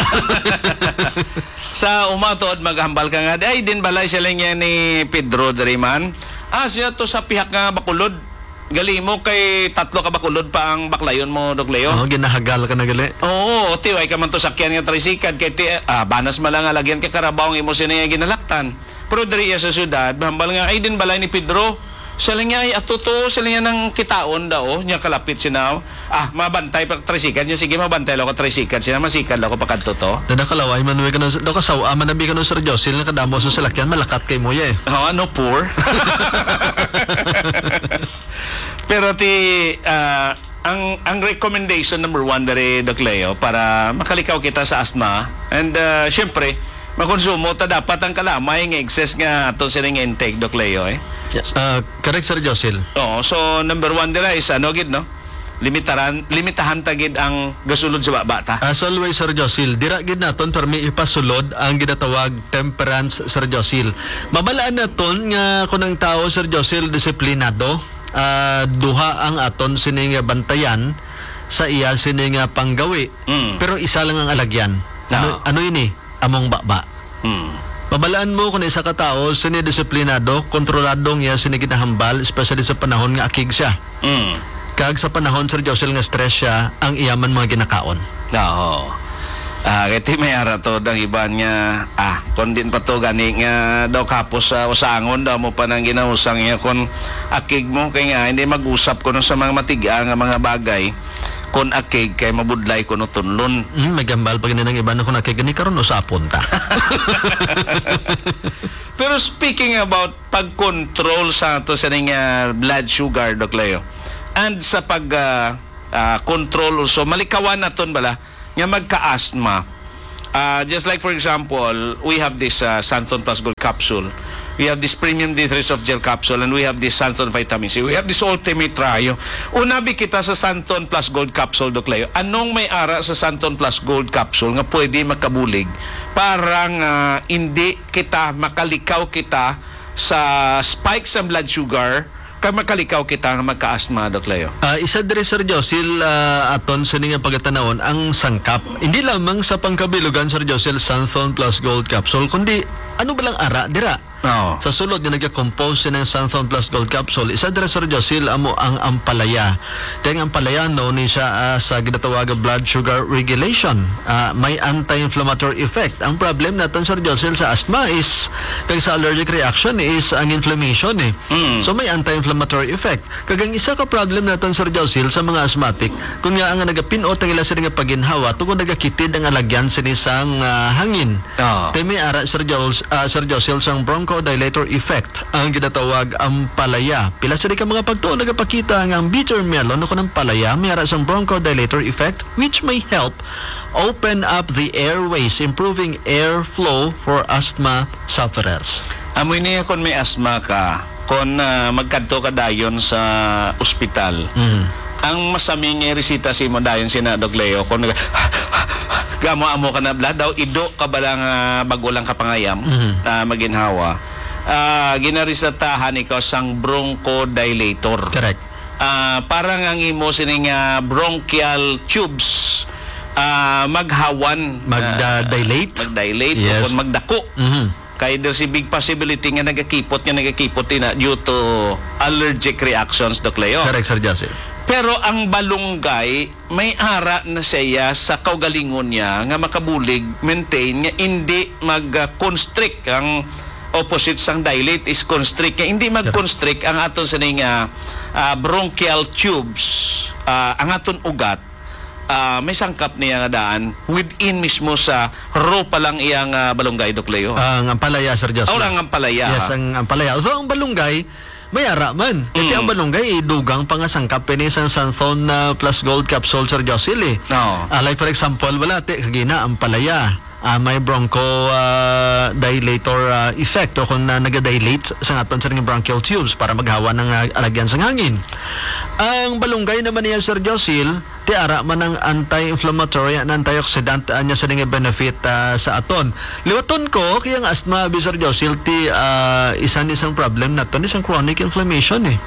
Sa uma tuod, maghambal ka nga, "Ay, din balay sila niya ni Pedro diri man." Ah, siya to sa pihak nga Bacolod. Gali mo kay tatlo ka Bacolod pa ang baklayon mo, Doc Leo. Oh, ginahagal ka na gali. Oo, ti, way ka man to sakyan nga tricycle, kay ti, ah, banas man lang nga lagyan ka karabaw ang imo sini nga ginalaktan. Pero diri iya sa syudad, hambal nga, "Ay, din balay ni Pedro." Siya lang niya, "Ay, ato to," siya lang niya nang kitaon daw, niya kalapit siya na, "Ah, mabantay pa tricycle niya, sige, mabantay lang ako tricycle siya, masikad lang ako pakadto to." Dada kalaway man, may kanus-, daw kasawa man, nabi kanus-, Sir Josil, nga kadamo sa salakyan, malakat kay mo, eh. Oh, ano, poor? Pero ti, ah, ang, ang recommendation number one diri, Doc Leo, para makalikaw kita sa asthma, and, ah, syempre, makonsumo ta dapat ang kalamay nga excess nga ato sini nga intake, Doc Leo, eh. Yes. Ah, correct, Sir Josil. Oo, so number one dira is ano gid, no? Limitaran, limitahan ta gid ang gasulod sa baba ta. As always, Sir Josil, dira gid naton permi ipasulod ang ginatawag temperance, Sir Josil. Mabalaan naton nga kung ang tao, Sir Josil, disiplinado, ah, duha ang aton sini nga bantayan sa iya sini nga panggawi, Mm. pero isa lang ang alagyan. Ano, Ah. ano ini? Among baba. Mm. Mabalaan mo kung isa ka tawo sini disiplinado, kontrolado ang iya sini ginahambal, especially sa panahon nga akig siya. Mm. Kag sa panahon, Sir Josil, nga stress siya, ang iya man mga ginakaon. Oo. Ah, kay ti may ara to ang iban nga, ah, kung din pa to gani nga daw kapos sa usangon daw mo pa nang ginausang niya kung akig mo, kay nga hindi mag-usap kuno sa mga matiga nga mga bagay, kung akig kay mabudlay kuno tunlon. Mm, may gambal pa gani ng iban kung akig gani karon usapon ta. Pero speaking about pag-control sa ato sa ning, ah, blood sugar, Doc Leo, and sa pag, ah, ah, control also, malikawan naton bala nga magka-asthma. Ah, just like, for example, we have this, ah, Santon Plus Gold capsule. We have this premium D three soft gel capsule, and we have this Santon vitamin C. We have this Ultimate Trio. Unabi kita sa Santon Plus Gold capsule, Doc Leo. Anong may ara sa Santon Plus Gold capsule nga pwede makabulig para nga hindi kita makalikaw kita sa spike sa blood sugar, kag makalikaw kita nga magka-asthma, Doc Leo? Ah, isa diri, Sir Josil, ah, aton sini nga pagatanawon ang sangkap. Hindi lamang sa pangkabilugan, Sir Josil, Santhon Plus Gold Capsule, kundi ano ba lang ara dira? Oo. Sa sulod nga nagakompose sini ang Santhon Plus Gold Capsule, isa dira, Sir Josil, amo ang ampalaya. Kay ang ampalaya, no, ni siya, ah, sa ginatawag nga blood sugar regulation. Ah, may anti-inflammatory effect. Ang problem naton, Sir Josil, sa asthma is, kag sa allergic reaction is ang inflammation, eh. Mm. So, may anti-inflammatory effect. Kag ang isa ka problem naton, Sir Josil, sa mga asthmatic, kun nga ang nagapinot ang ila sini nga paginhawa, tungod nagakitid ang alagyan sini sang, ah, hangin. Ah. Kay may ara, Sir Jos-, ah, Sir Josil, sang bronchodilator effect, ang ginatawag ampalaya. Pila sini ka mga pagtuon nagapakita nga ang bitter melon o kun ang palaya may ara sang bronchodilator effect, which may help open up the airways, improving airflow for asthma sufferers. Amo ini, kung may asma ka, kung, ah, magkadto ka dayon sa ospital, Mm. ang masaming nga resita sa imo dayon sina, Doc Leo, kung nag-, gamo-amo ka na, bala daw, ido ka bala nga bago lang ka pangayam, Mhm. ah, maginhawa, ah, ginaresetahan ikaw sang bronchodilator. Correct. Ah, para nga ang imo sining, ah, bronchial tubes, ah, maghawan, Magda-, ah, dilate? Magdilate o Yes. kung magdako. Mhm. Kay there's a big possibility nga nagakipot, nga nagakipot din na due to allergic reactions, Doc Leo. Correct, Sir Jocelyn. Pero ang balunggay, may ara na siya sa kaugalingon niya nga makabulig, maintain, nga hindi mag-, ah, constrict. Ang opposite sang dilate is constrict. Nga hindi Correct. mag-constrict ang aton sining, ah, ah, bronchial tubes, ah, ang aton ugat, ah, may sangkap niya nga daan within mismo sa raw pa lang iyang, ah, balunggay, Doc Leo. Ang ampalaya, Sir Jocelyn. Oh, ang ampalaya, Yes, ha? ang ampalaya. Although ang balunggay, may ara man. Kasi Mm. ang balunggay, idugang pa nga sangkap ini sang Santhon, ah, Plus Gold Capsule, Sir Jocelyn, eh. Oo. Ah, like, for example, wala, ti, kagina, ampalaya. Ah, may broncho, ah, dilator, ah, effect o kung, ah, nagadilate sa aton sa bronchial tubes para maghawa ng, ah, alagyan sang hangin. Ang balunggay naman niya, Sir Josil, ti ara man ang anti-inflammatory and antioxidant, ah, niya sa nga benefit, ah, sa aton. Liwaton ko, kaya ang asthma, abi, Sir Josil, ti, ah, isa ni isang problem naton, isang chronic inflammation, eh.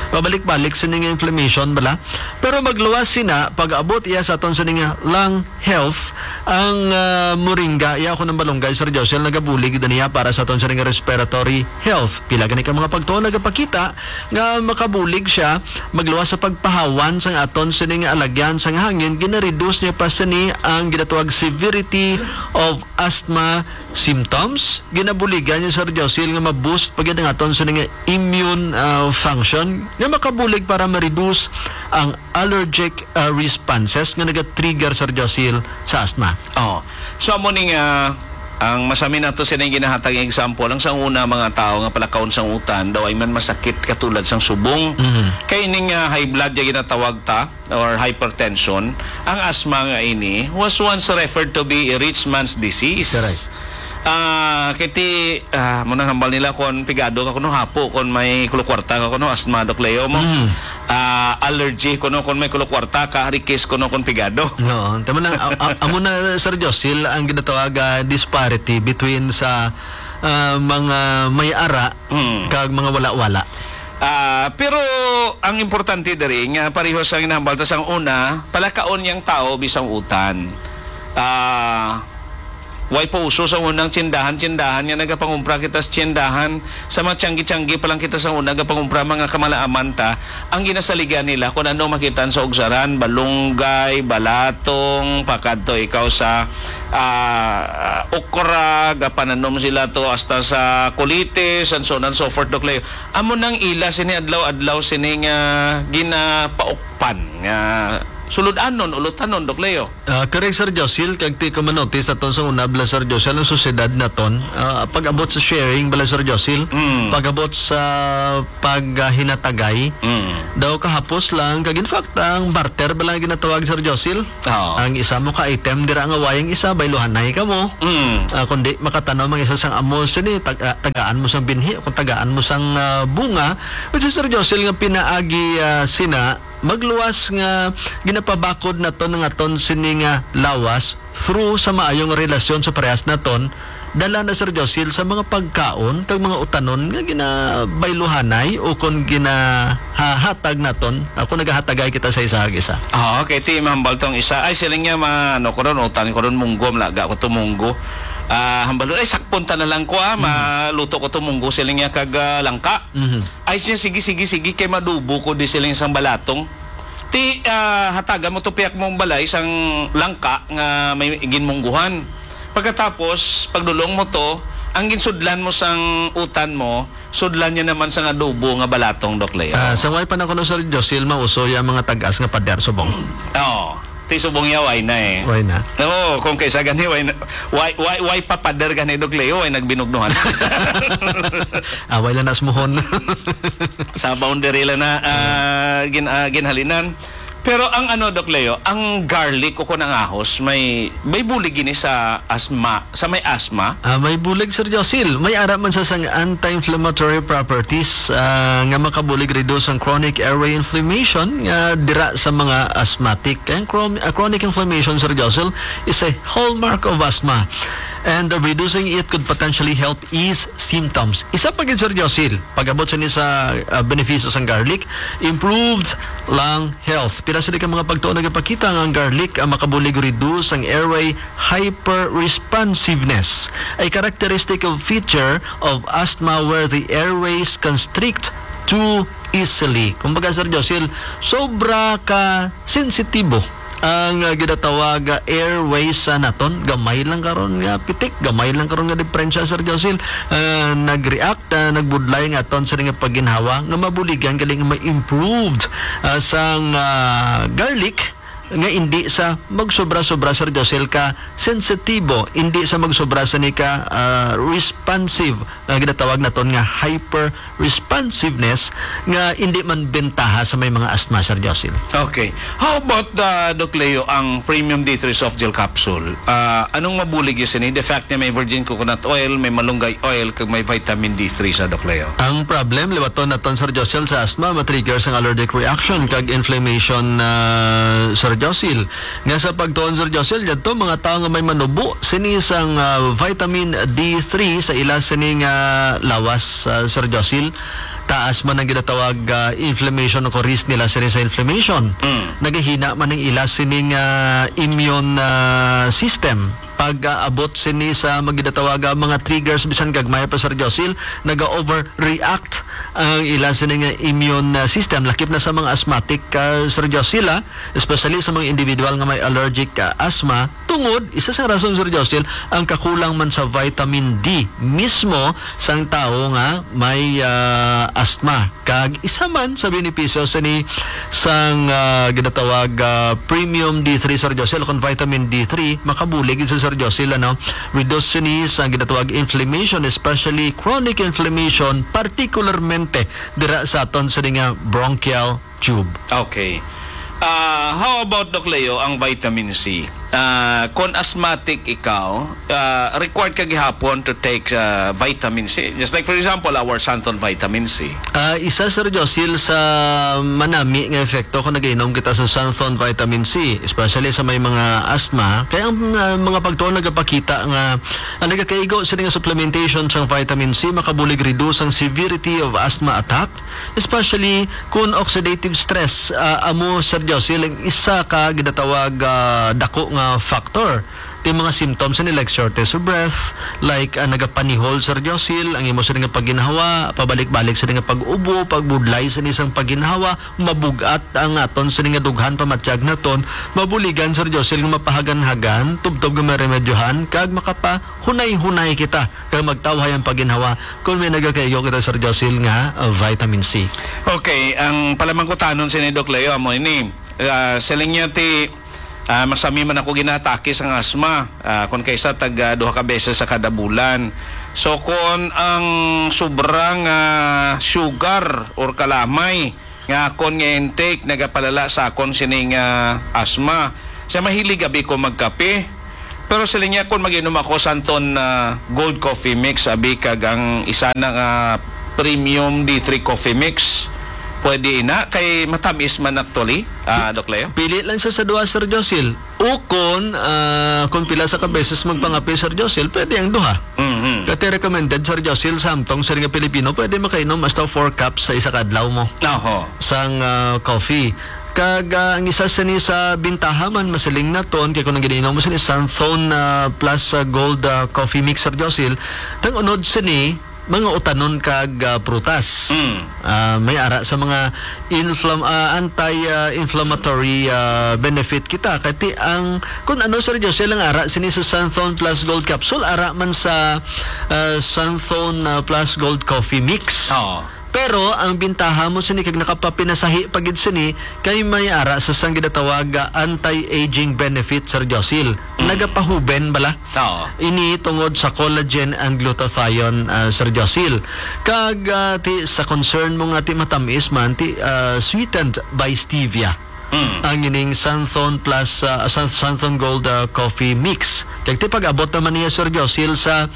Pabalik-balik sa nga inflammation, bala. Pero magluwas sina, pag-abot iya sa aton sa nga lung health, ang, ah, moringa, iya ko ng balunggay, Sir Josil, nagabulig na niya para sa aton sa nga respiratory health. Pila gani ka mga pagtuon nagapakita nga makabulig siya magluwas sa pagpahawan sang aton sini nga alagyan sang hangin, ginareduce niya pa sini ang ginatawag severity of asthma symptoms. Ginabuligan niya, Sir Josil, nga ma-boost pa gid ang aton sini nga immune, ah, function nga makabulig para ma-reduce ang allergic, ah, responses nga naga-trigger, Sir Josil, sa asthma. Oh. So, amo ni nga ang masami nato sini ginahatag nga example, ang sa una, mga tao nga palakaon sang utan, daw ay man masakit katulad sang subong. Mhm. Kay ining, ah, high blood ya ginatawag ta or hypertension, ang asthma nga ini was once referred to be a rich man's disease. Correct. Ah, kiti, ah, mo nang hambal nila kon pigado ka kuno hapo, kon may kulukwarta ka kuno asthma, Doc Leo, mo. Mhm. Ah, allergy kuno kon may kulukwarta ka, rikis kuno kon pigado. Oo, tama lang. A-, a-, amo na, Sir Josil, ang ginatawag, ah, disparity between sa, ah, mga may ara Mm. kag mga wala-wala. Ah, pero ang importante diri nga pareho sa ginahambal ta sang una, palakaon yang tao bisang utan. Ah, way pa uso sa unang tsindahan-tsindahan nga nagapangumpra kita sa tsindahan, sa mga tiyanggi-tiyanggi pa lang kita sa una nagapangumpra, mga kamalaaman ta, ang ginasaligan nila kung ano makita sa ugsaran, balunggay, balatong, pakadto ikaw sa, ah, okra, gapananom sila to hasta sa kulitis, and so on and so forth, Doc Leo. Amo nang ila sini adlaw-adlaw sini nga ginapaukpan nga sulod-anon, ulutanon, Doc Leo. Ah, correct, Sir Josil, kag ti ko manotis aton sa una bala, Sir Josil, ang sosyedad naton, ah, pag-abot sa sharing bala, Sir Josil, Mm. pag-abot sa paghinatagay, Mm. daw kahapos lang, kag in fact, ang barter bala ang ginatawag, Sir Josil. Oo. Ang isa mo ka item, dira nga way ang isa, bayluhanay ka mo. Mm. Ah, kundi makatanom ang isa sang amo sini, tag-, ah, tagaan mo sang binhi, kung tagaan mo sang, ah, bunga, which is, Sir Josil, nga pinaagi, ah, sina, magluwas nga ginapabakod naton ang aton sini nga lawas through sa maayong relasyon sa parehas naton, dala na, Sir Josil, sa mga pagkaon kag mga utanon nga ginabayluhanay o kon ginahahatag naton, ah, kon nagahatagay kita sa isa kag isa. Ah, okay, ti mahambal tong isa. Ay, siling niya, ma-, ano ko ron, utan ko ron, munggo, malaga ko to munggo. Ah, hambal, ay, sakpon ta na lang ko, ah, Mm. maluto ko to munggo, siling niya, kag, ah, langka. Mhm. Ay siya, "Sige, sige, sige, kay madubo ko di siling sang balatong." Ti, ah, hatagan mo to piyak mong balay sang langka nga may ginmungguhan. Pagkatapos, pagdulong mo to, ang ginsudlan mo sang utan mo, sudlan niya naman sang adobo nga balatong, Doc Leo. Ah, sa way pa na kuno, Sir Josil, mauso ya mga tag-as nga pader subong. Oo. Ti subong ya, way na eh. Way na. Oo, kung kaysa gani, way na, way, way, way pa pader gani, Doc Leo, way nagbinugnuhan. Ah, way lang nasmuhon. Sa boundary lang na, ah, gin-, ah, ginhalinan. Pero ang ano, Doc Leo, ang garlic o kung ang ahos, may, may bulig gini sa asma, sa may asma? Ah, may bulig, Sir Josil. May ara man sa sang anti-inflammatory properties, ah, nga makabulig reduce ang chronic airway inflammation nga dira sa mga asthmatic. Kaya ang chron-, ah, chronic inflammation, Sir Josil, is a hallmark of asthma. And, uh, reducing it could potentially help ease symptoms. Isa pa gid, Sir Josil, pag-abot sa ni sa, uh, benepisyo sang garlic, improved lung health. Pila sila ka mga pagtuon nagapakita nga ang garlic ang makabulig reduce ang airway hyperresponsiveness, a characteristic of feature of asthma where the airways constrict too easily. Kumbaga, Sir Josil, sobra ka sensitibo ang, ah, ginatawag, ah, airways sa naton. Gamay lang karon nga pitik, gamay lang karon nga diperensya, Sir Josil, ah, nag-react, ah, nagbudlay nga aton sa nga pagginhawa nga mabuligan gali nga ma-improved, ah, sang, ah, garlic nga indi sa magsobra-sobra, Sir Josil, ka sensitibo, indi sa magsobra sa ni ka, ah, responsive, nga ginatawag naton nga hyper responsiveness nga indi man bentaha sa may mga asthma, Sir Josil. Okay. How about, uh, Doc Leo, ang Premium D three Soft Gel Capsule? Ah, anong mabulig sini? The fact niya may virgin coconut oil, may malunggay oil, kag may vitamin D three sa, Doc Leo. Ang problem, liwaton naton, Sir Josil, sa asthma, ma-trigger sang allergic reaction kag inflammation, ah, Sir Josil. Nga sa pagtuon, Sir Josil, yadto mga tawo nga may manubo sini sang, ah, vitamin D three sa ila sini nga lawas, ah, Sir Josil, taas man ang ginatawag, ah, inflammation o risk nila sini sa inflammation. Mm. Nagahina man ang ila sining, ah, immune, ah, system pag, ah, abot sini sa mga ginatawag, ah, mga triggers, bisan gagmay pa, Sir Josil, naga-overreact ang ila sini nga immune, ah, system, lakip na sa mga asthmatic, ah, Sir Josil, ah, especially sa mga individual nga may allergic, ah, asthma, tungod, isa sa rason, Sir Josil, ang kakulang man sa vitamin D mismo sang tawo nga may, ah, asthma. Kag isa man sa benepisyo sini sang, ah, ginatawag, ah, premium D three, Sir Josil, kon vitamin D three, makabulig gid sa, Sir Josil, ano, reduce sini sa ginatawag inflammation, especially chronic inflammation, particularmente dira sa aton sini nga bronchial tube. Okay. Ah, how about, Doc Leo, ang vitamin C? Ah, kon asthmatic ikaw, ah, required ka gihapon to take, ah, vitamin C. Just like, for example, our Santon vitamin C. Ah, isa, Sir Josil, sa manami nga epekto kung nag-inom kita sa Santon vitamin C, especially sa may mga asthma. Kaya ang, ah, mga pagtuon nagapakita nga ang nagakaigo sini nga supplementation sang vitamin C makabulig reduce ang severity of asthma attack, especially kun oxidative stress, ah, amo, Sir Josil, ang isa ka ginatawag, ah, dako nga factor. Ti mga symptoms ni, like shortness of breath, like, ah, nagapanihol, Sir Josil, ang imo sini nga pagginhawa, pabalik-balik sini nga pag-ubo, pagbudlay sini sang pagginhawa, mabug-at ang aton sini nga dughan pamatyag naton, mabuligan, Sir Josil, nga mapahagan-hagan, tubtob nga maremedyohan, kag makapahunay-hunay kita kag magtawhay ang pagginhawa kung may nagakaigo kita, Sir Josil, nga, uh, vitamin C. Okay, ang palamangkutanon sini, Doc Leo, amo ini. Ah, siling niya ti, ah, masami man ako ginatake sang asma. Ah, kon kaisa tag, ah, duha ka beses sa kada bulan. So, kon ang sobrang, ah, sugar or kalamay nga akon nga intake nagapalala sa akon sining, ah, asma. Siya mahilig abi ko magkape. Pero siling niya, kung mag-inom ako sa anton, ah, Gold Coffee Mix, abi kag ang isa na nga Premium D three Coffee Mix, pwede ina kay matamis man actually, ah, Doc Leo? Pili lang siya sa duha, Sir Josil. Ukon, ah, kung pila sa ka beses magpangape, Sir Josil, pwede ang duha. Mhm. Kati recommended, Sir Josil, sa amtong sir nga Pilipino, pwede makainom hasta four cups sa isa ka adlaw mo Oho. sang, ah, coffee. Kag, ah, ang isa sini sa bintaha man, masiling naton, kay kung ang giniinom mo sini Santhon, ah, plus, ah, Gold, ah, Coffee Mix, Sir Josil, tang unod sini, mga utanon kag, ah, prutas. Mm. Ah, may ara sa mga inflam-, ah, anti, ah, inflammatory, ah, benefit kita. Kay ti ang, kung ano, Sir Josil, ang ara sini sa Santhon plus Gold Capsule, ara man sa, ah, Santhon, ah, plus Gold Coffee Mix. Oo. Pero ang bintaha mo sini kag nakapapinasahi pa gid sini kay may ara sa sang ginatawag nga anti-aging benefit, Sir Josil. Mm. Nagapahuben bala. Oo. Ini tungod sa collagen and glutathione, ah, Sir Josil. Kag, ah, ti, sa concern mo nga ti matamis man, ti, ah, sweetened by stevia. Mm. Ang ining Santhon Plus, ah, San-, Santhon Gold, ah, Coffee Mix. Kag ti pag-abot naman niya, Sir Josil, sa,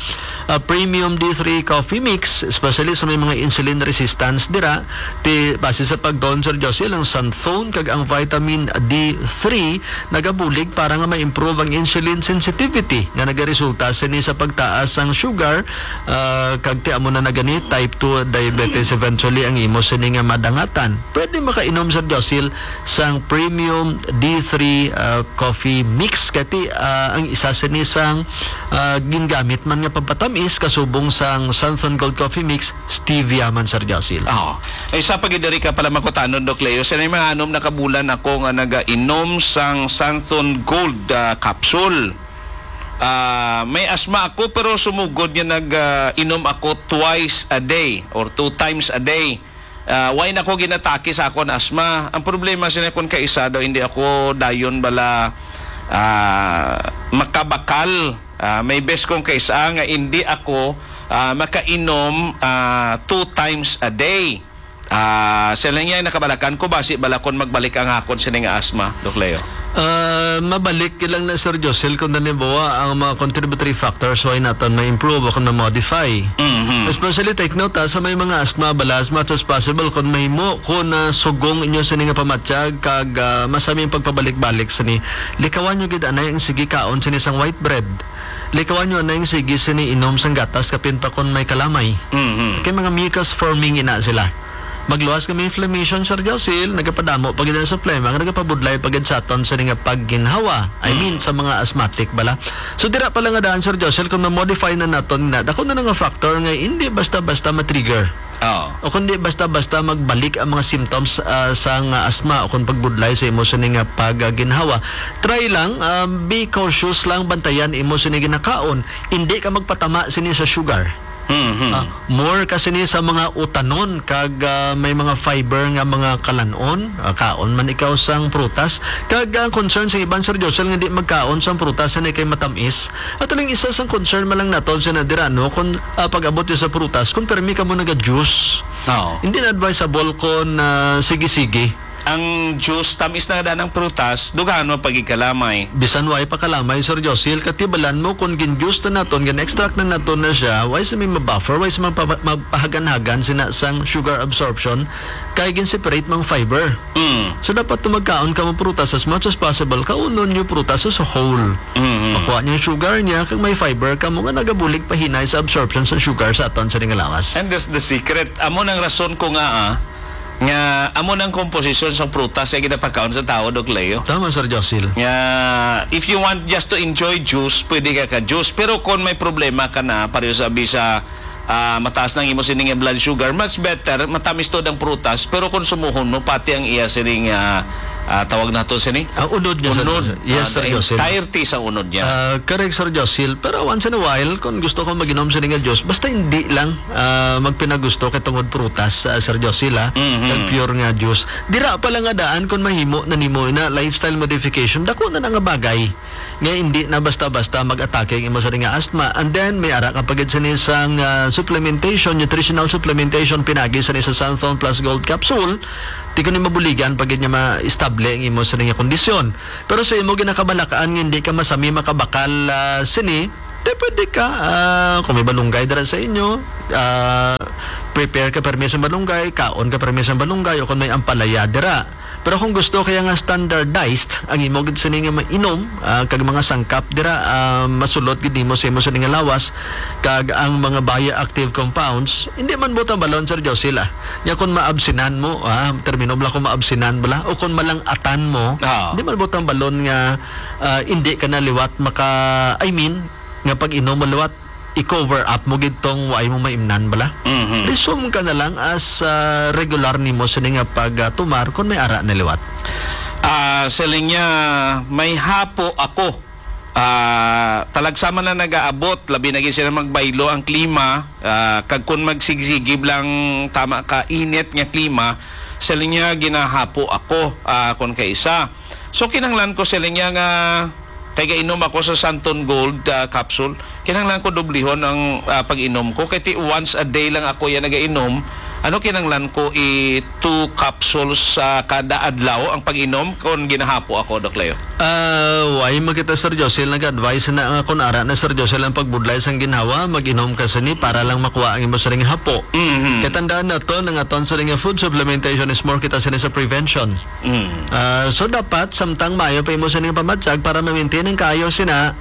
ah, Premium D three Coffee Mix, especially sa may mga insulin resistance dira, ti base sa pagtuon, Sir Josil, ang Santhon kag ang vitamin D three nagabulig para nga ma-improve ang insulin sensitivity nga nagaresulta sini sa pagtaas sang sugar, ah, kag ti amo na na gani type two diabetes eventually ang imo sini nga madangatan. Pwede makainom, Sir Josil, sang Premium D three, ah, Coffee Mix. Kay ti, ah, ang isa sini sang, ah, gingamit man nga pampatamis kasubong sang Santhon Gold Coffee Mix, stevia man, Sir Josil. Oo. Ay, sa pagidari ka pala makutanon, Doc Leo, sa mga anom na kabulan ako nga nagainom sang Santhon Gold, ah, capsule. Ah, may asma ako, pero sumugod nga nag, ah, inom ako twice a day or two times a day. Ah, why na ko ginatake sa akon asma? Ang problema sina kon kaisa daw, hindi ako dayon bala, ah, makabakal. Ah, may best kong kaisa nga hindi ako, ah, makainom, ah, two times a day. Ah, sila niya nakabalakan ko basi bala kon magbalik ang akon sini nga asma, Doc Leo. Ah, mabalik lang na, Sir Josel, kung halimbawa ang mga contributory factors, why naton ma-improve o kung ma-modify. Mhm. Especially, take note, ha, sa may mga asthma, bala, as much as possible, kung mahimo, kung, ah, sugong inyo sini nga pamatyag, kag, ah, masami ang pagpabalik-balik sini, likawan nyo gid anay ang sige kaon sini sang white bread. Likawan nyo anay ang sige sini inom sang gatas, kapin pa kung may kalamay. Mhm. Kay mga mucus forming ina sila. Magluwas nga may inflammation, Sir Josil, nagapadamo pa gid sa plema, nga nagapabudlay pa gid sa aton sini nga pagginhawa. I mean, Mm. sa mga asthmatic bala. So, dira pa lang nga daan, Sir Josil, kung ma-modify na naton na, dako na nga factor nga hindi basta-basta ma-trigger. Oo. O kundi basta-basta magbalik ang mga symptoms, ah, sang asthma o kung pagbudlay sa imo sini nga pagginhawa. Try lang, ah, be cautious lang, bantayan imo sini ginakaon. Hindi ka magpatama sini sa sugar. Mhm. Ah, more ka sini sa mga utanon kag, ah, may mga fiber nga mga kalanon, ah, kaon man ikaw sang prutas. Kag ang concern sa iban, Sir Josel, nga di magkaon sang prutas na kay matamis. At aling isa sang concern man lang naton sa nadira, no, kung, ah, pag-abot sa prutas, kung permi ka mo naga-juice, Oo. hindi na advisable kung, ah, sige-sige. Ang juice, tamis na daan ang prutas, dughan mo pagigkalamay. Bisan way pa kalamay, Sir Josil, katibalan mo kung gin-juice na naton, gin-extract na naton na siya, way sa may ma-buffer, way sa magpa-, magpahaganhagan sina sang sugar absorption, kay gin-separate mang fiber. Mm. So, dapat to magkaon ka mo prutas as much as possible, kaunon nyo prutas as a whole. Mm, mm. Makuha niya yung sugar niya, kag may fiber ka mo nga nagabulig pahinay sa absorption sa sugar sa aton sa ring lawas. And that's the secret. Amo nang rason ko nga, ah, nga amo nang komposisyon sang prutas nga ginapakaon sa tawo, Doc Leo. Tama, Sir Josil. Nga, if you want just to enjoy juice, pwede ka ka-juice. Pero kung may problema ka na, pareho sa abi sa, ah, mataas nang imo sining blood sugar, much better, matamis to ang prutas, pero konsumuhon mo pati ang iya sining, ah, ah, tawag nato sini? Ang unod niya, Sir Unod. Josil. Yes, Ah, Sir the Josil. entirety sa unod niya. Ah, correct, Sir Josil. Pero once in a while, kung gusto ko mag-inom sini nga juice, basta hindi lang ah, magpinagusto kay tungod prutas, ah, Sir Josil, ah, Mhm. kag pure nga juice. Dira pa lang nga daan kung mahimo na nimo ina lifestyle modification, dako na na nga bagay nga hindi na basta-basta mag-atake ang imo sa nga asthma. And then, may ara ka pa gid sini sang, ah, supplementation, nutritional supplementation, pinagi sini sa Santhon Plus Gold Capsule. Di ko ni mabuligan pa gid nga ma-estable ang imo sa nga kondisyon. Pero sa imo ginakabalakaan nga hindi ka masami makabakal, ah, sini, Di pwede ka, ah, kung may balunggay dira sa inyo, ah, prepare ka permi sa balunggay, kaon ka permi sa balunggay, o kung may ampalaya dira. Pero kung gusto kaya nga standardized ang imo gid sini nga mainom, ah, kag mga sangkap dira, ah, masulot gid nimo sa imo sini nga lawas, kag ang mga bioactive compounds, hindi man butang balon, Sir Josil, ah. Nya kung maabsinan mo, ah, termino bala kung maabsinan bala, o kung malang-atan mo, Ah. hindi man butang balon nga, ah, hindi ka na liwat maka, I mean, nga pag-inom mo liwat, i-cover up mo gid tong wa mo maimnan bala. Mhm. Resume ka na lang as, ah, regular nimo sini nga pag, ah, tumar kung may ara na liwat. Ah, sa linya, may hapo ako. Ah, talagsa man lang nagaabot, labi na gid sila magbaylo ang klima, ah, kag kun magsigsigib lang tama ka init nga klima, sa linya ginahapo ako, ah, kun kaisa. So, kinahanglan ko sa linya nga Kay gainom ako sa Santon Gold, ah, capsule. Kinahanglan ko dublihon ang, ah, pag-inom ko. Kay ti once a day lang ako yan nagainom. Ano kinahanglan ko i two capsules sa kada adlaw ang pag-inom kon ginahapo ako, Doc Leo? Ah, why man kita, Sir Josil, nag-advise na nga kun ara na, Sir Josil, ang pagbudlay sang ginhawa, mag-inom ka sini para lang makuha ang imo sining hapo. Mhm. Kay tandaan naton, ang aton sining food supplementation is more kita sini sa prevention. Mm. Ah, so dapat, samtang maayo pa imo sining pamatyag para ma-maintain ang kaayo sina,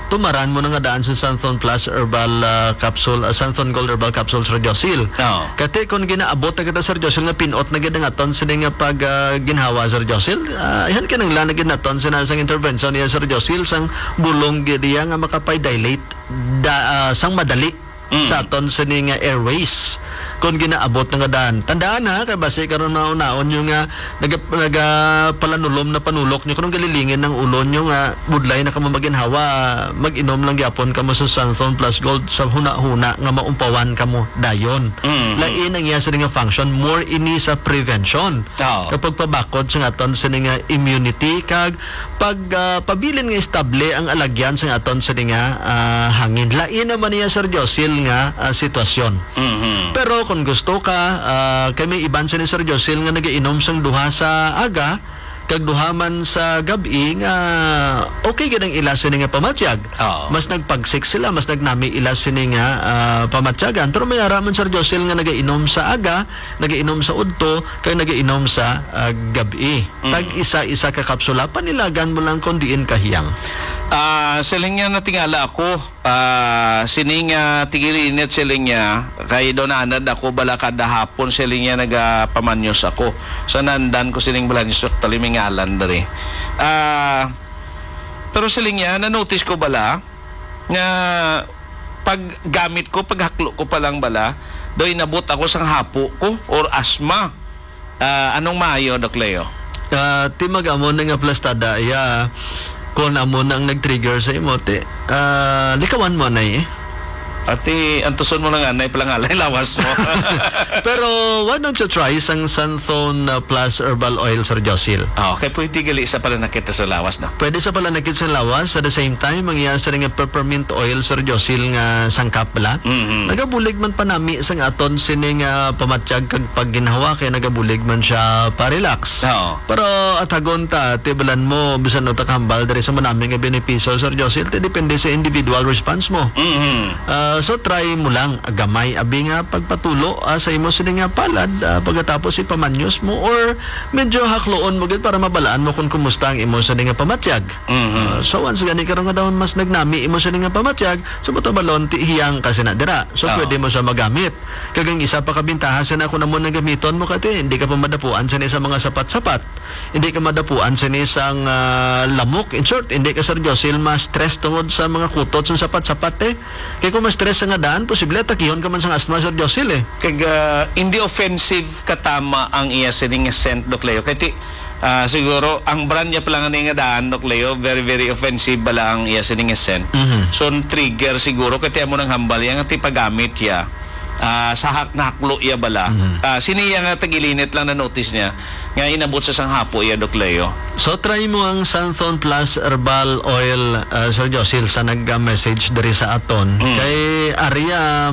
tumaran mo na nga daan sa Santhon Plus Herbal, ah, Capsule, ah, Santhon Gold Herbal Capsule, Sir Josil. Oo. Kati kung ginaabot na kita, Sir Josil, nga pinot na gid ang aton sini nga pag, ah, ginhawa, Sir Josil, ah, ihan kinahanglan na gid naton sina sang intervention niya, Sir Josil, sang bulong gid iya nga makapay-dilate da, ah, sang madali Mm. sa aton sini nga airways. Kung ginaabot na nga daan. Tandaan ha, kay basi karon mahunaon nyo nga naga-, nagapalanulom na panulok nyo, kung galilingin ang ulo nyo nga budlay na kamo maginhawa, mag-inom lang gyapon kamo sa Santhon Plus Gold sa huna-huna nga maumpawan kamo dayon. Mhm. Lain ang iya sini nga function, more ini sa prevention. Oo. Kapag pabakod sa aton sini nga immunity, kag pag, ah, pabilin nga estable ang alagyan sa aton sini nga, ah, hangin. Lain naman niya, Sir Josil, nga, ah, sitwasyon. Mhm. Pero kung gusto ka, ah, kay may iban sini, Sir Josil, nga nagainom sang duha sa aga, kag duha man sa gab-i nga okay gid ang ila sini nga pamatyag. Oo. Mas nagpagsik sila, mas nagnami ila sini nga, ah, pamatyagan. Pero may ara man, Sir Josil, nga nagainom sa aga, nagainom sa udto, kag nagainom sa, ah, gab-i. Mm. Tag isa-isa ka kapsula, panilagan mo lang kung diin kahiyang. Ah, siling niya, natingala ako, ah, sining, ah, tigilinit, siling niya, kay doon anad ako bala kada hapon, siling niya, nagapamanyos ako. Sa nandan ko sining balanyos, actually, may ngalan diri. Ah, pero siling niya, na-notice ko bala, nga paggamit ko, paghaklo ko pa lang bala, daw inabot ako sang hapo ko or asma. Ah, anong maayo, Doc Leo? Ah, ti mag-amo na nga plastada, iya, kung amo na ang nag-trigger sa imo, ti, ah, likawan mo na eh. Ati, antuson mo na nga, nay palangalay lawas mo. Pero why don't you try sang Santhon, ah, Plus Herbal Oil, Sir Josil? Ah, okay, pwede gali sa palanakit sa lawas, no? Pwede sa palanakit sa lawas, at the same time, ang iya sa nga peppermint oil, Sir Josil, nga sangkap bala. Mhm. Nagabulig man panami sang aton sining, ah, pamatyag kag pagginhawa, kay nagabulig man siya pa-relax. Oo. Pero atagon ta, tibalan mo, bisan no ta kahambal diri sa manami nga benepisyo, Sir Josil, ti depende sa individual response mo. Mhm. Ah, so try mo lang, gamay abi nga pagpatulo, ah, sa imo sini nga palad, ah, pagkatapos ipamanyos mo or medyo hakloon mo gid para mabalaan mo kung kumusta ang imo sini nga pamatyag. Mhm. Ah, so once gani karon nga daw mas nagnami imo sini nga pamatyag, so matabalon ti hiyang ka sina dira. So Ah. pwede mo siya magamit. Kag ang isa pa ka bintaha sina kung amo nang gamiton mo kati, hindi ka pa madapuan sini sa mga sapat-sapat. Hindi ka madapuan sini sang, ah, lamok. In short, hindi ka, Sir Josil, ma-stress tungod sa mga kutot sa sapat-sapat, eh. Kay kung ma-stress sa nga daan, posible atakihon ka man sang asthma, Sir Josil, eh. Kag, ah, hindi offensive katama ang iya sining scent, Doc Leo. Kay ti, ah, siguro, ang brand niya pala nga nga daan, Doc Leo, very, very offensive bala ang iya sining scent. Mhm. So, trigger siguro, kay ti amo nang hambal, yang ti paggamit ya, ah, sa hak-, nahaklo ya bala. Mhm. Ah, sini ya nga tagilinit lang na notice niya, nga inabot sa sang hapo iya, Doc Leo. So, try mo ang Santhon Plus Herbal Oil, ah, Sir Josil, sa nag-message diri sa aton. Mm. Kay aria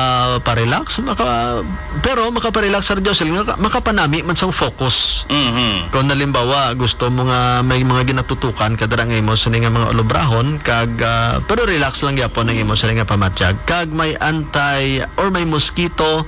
makaparelax, maka-, pero makaparelax, Sir Josil, nga ka-, makapanami man sang focus. Mhm. Kung halimbawa, gusto mo nga may mga ginatutukan ka dira nga imo sini nga mga ulubrahon, kag, ah, pero relax lang gyapon ang imo sini nga pamatyag. Kag may anti or may mosquito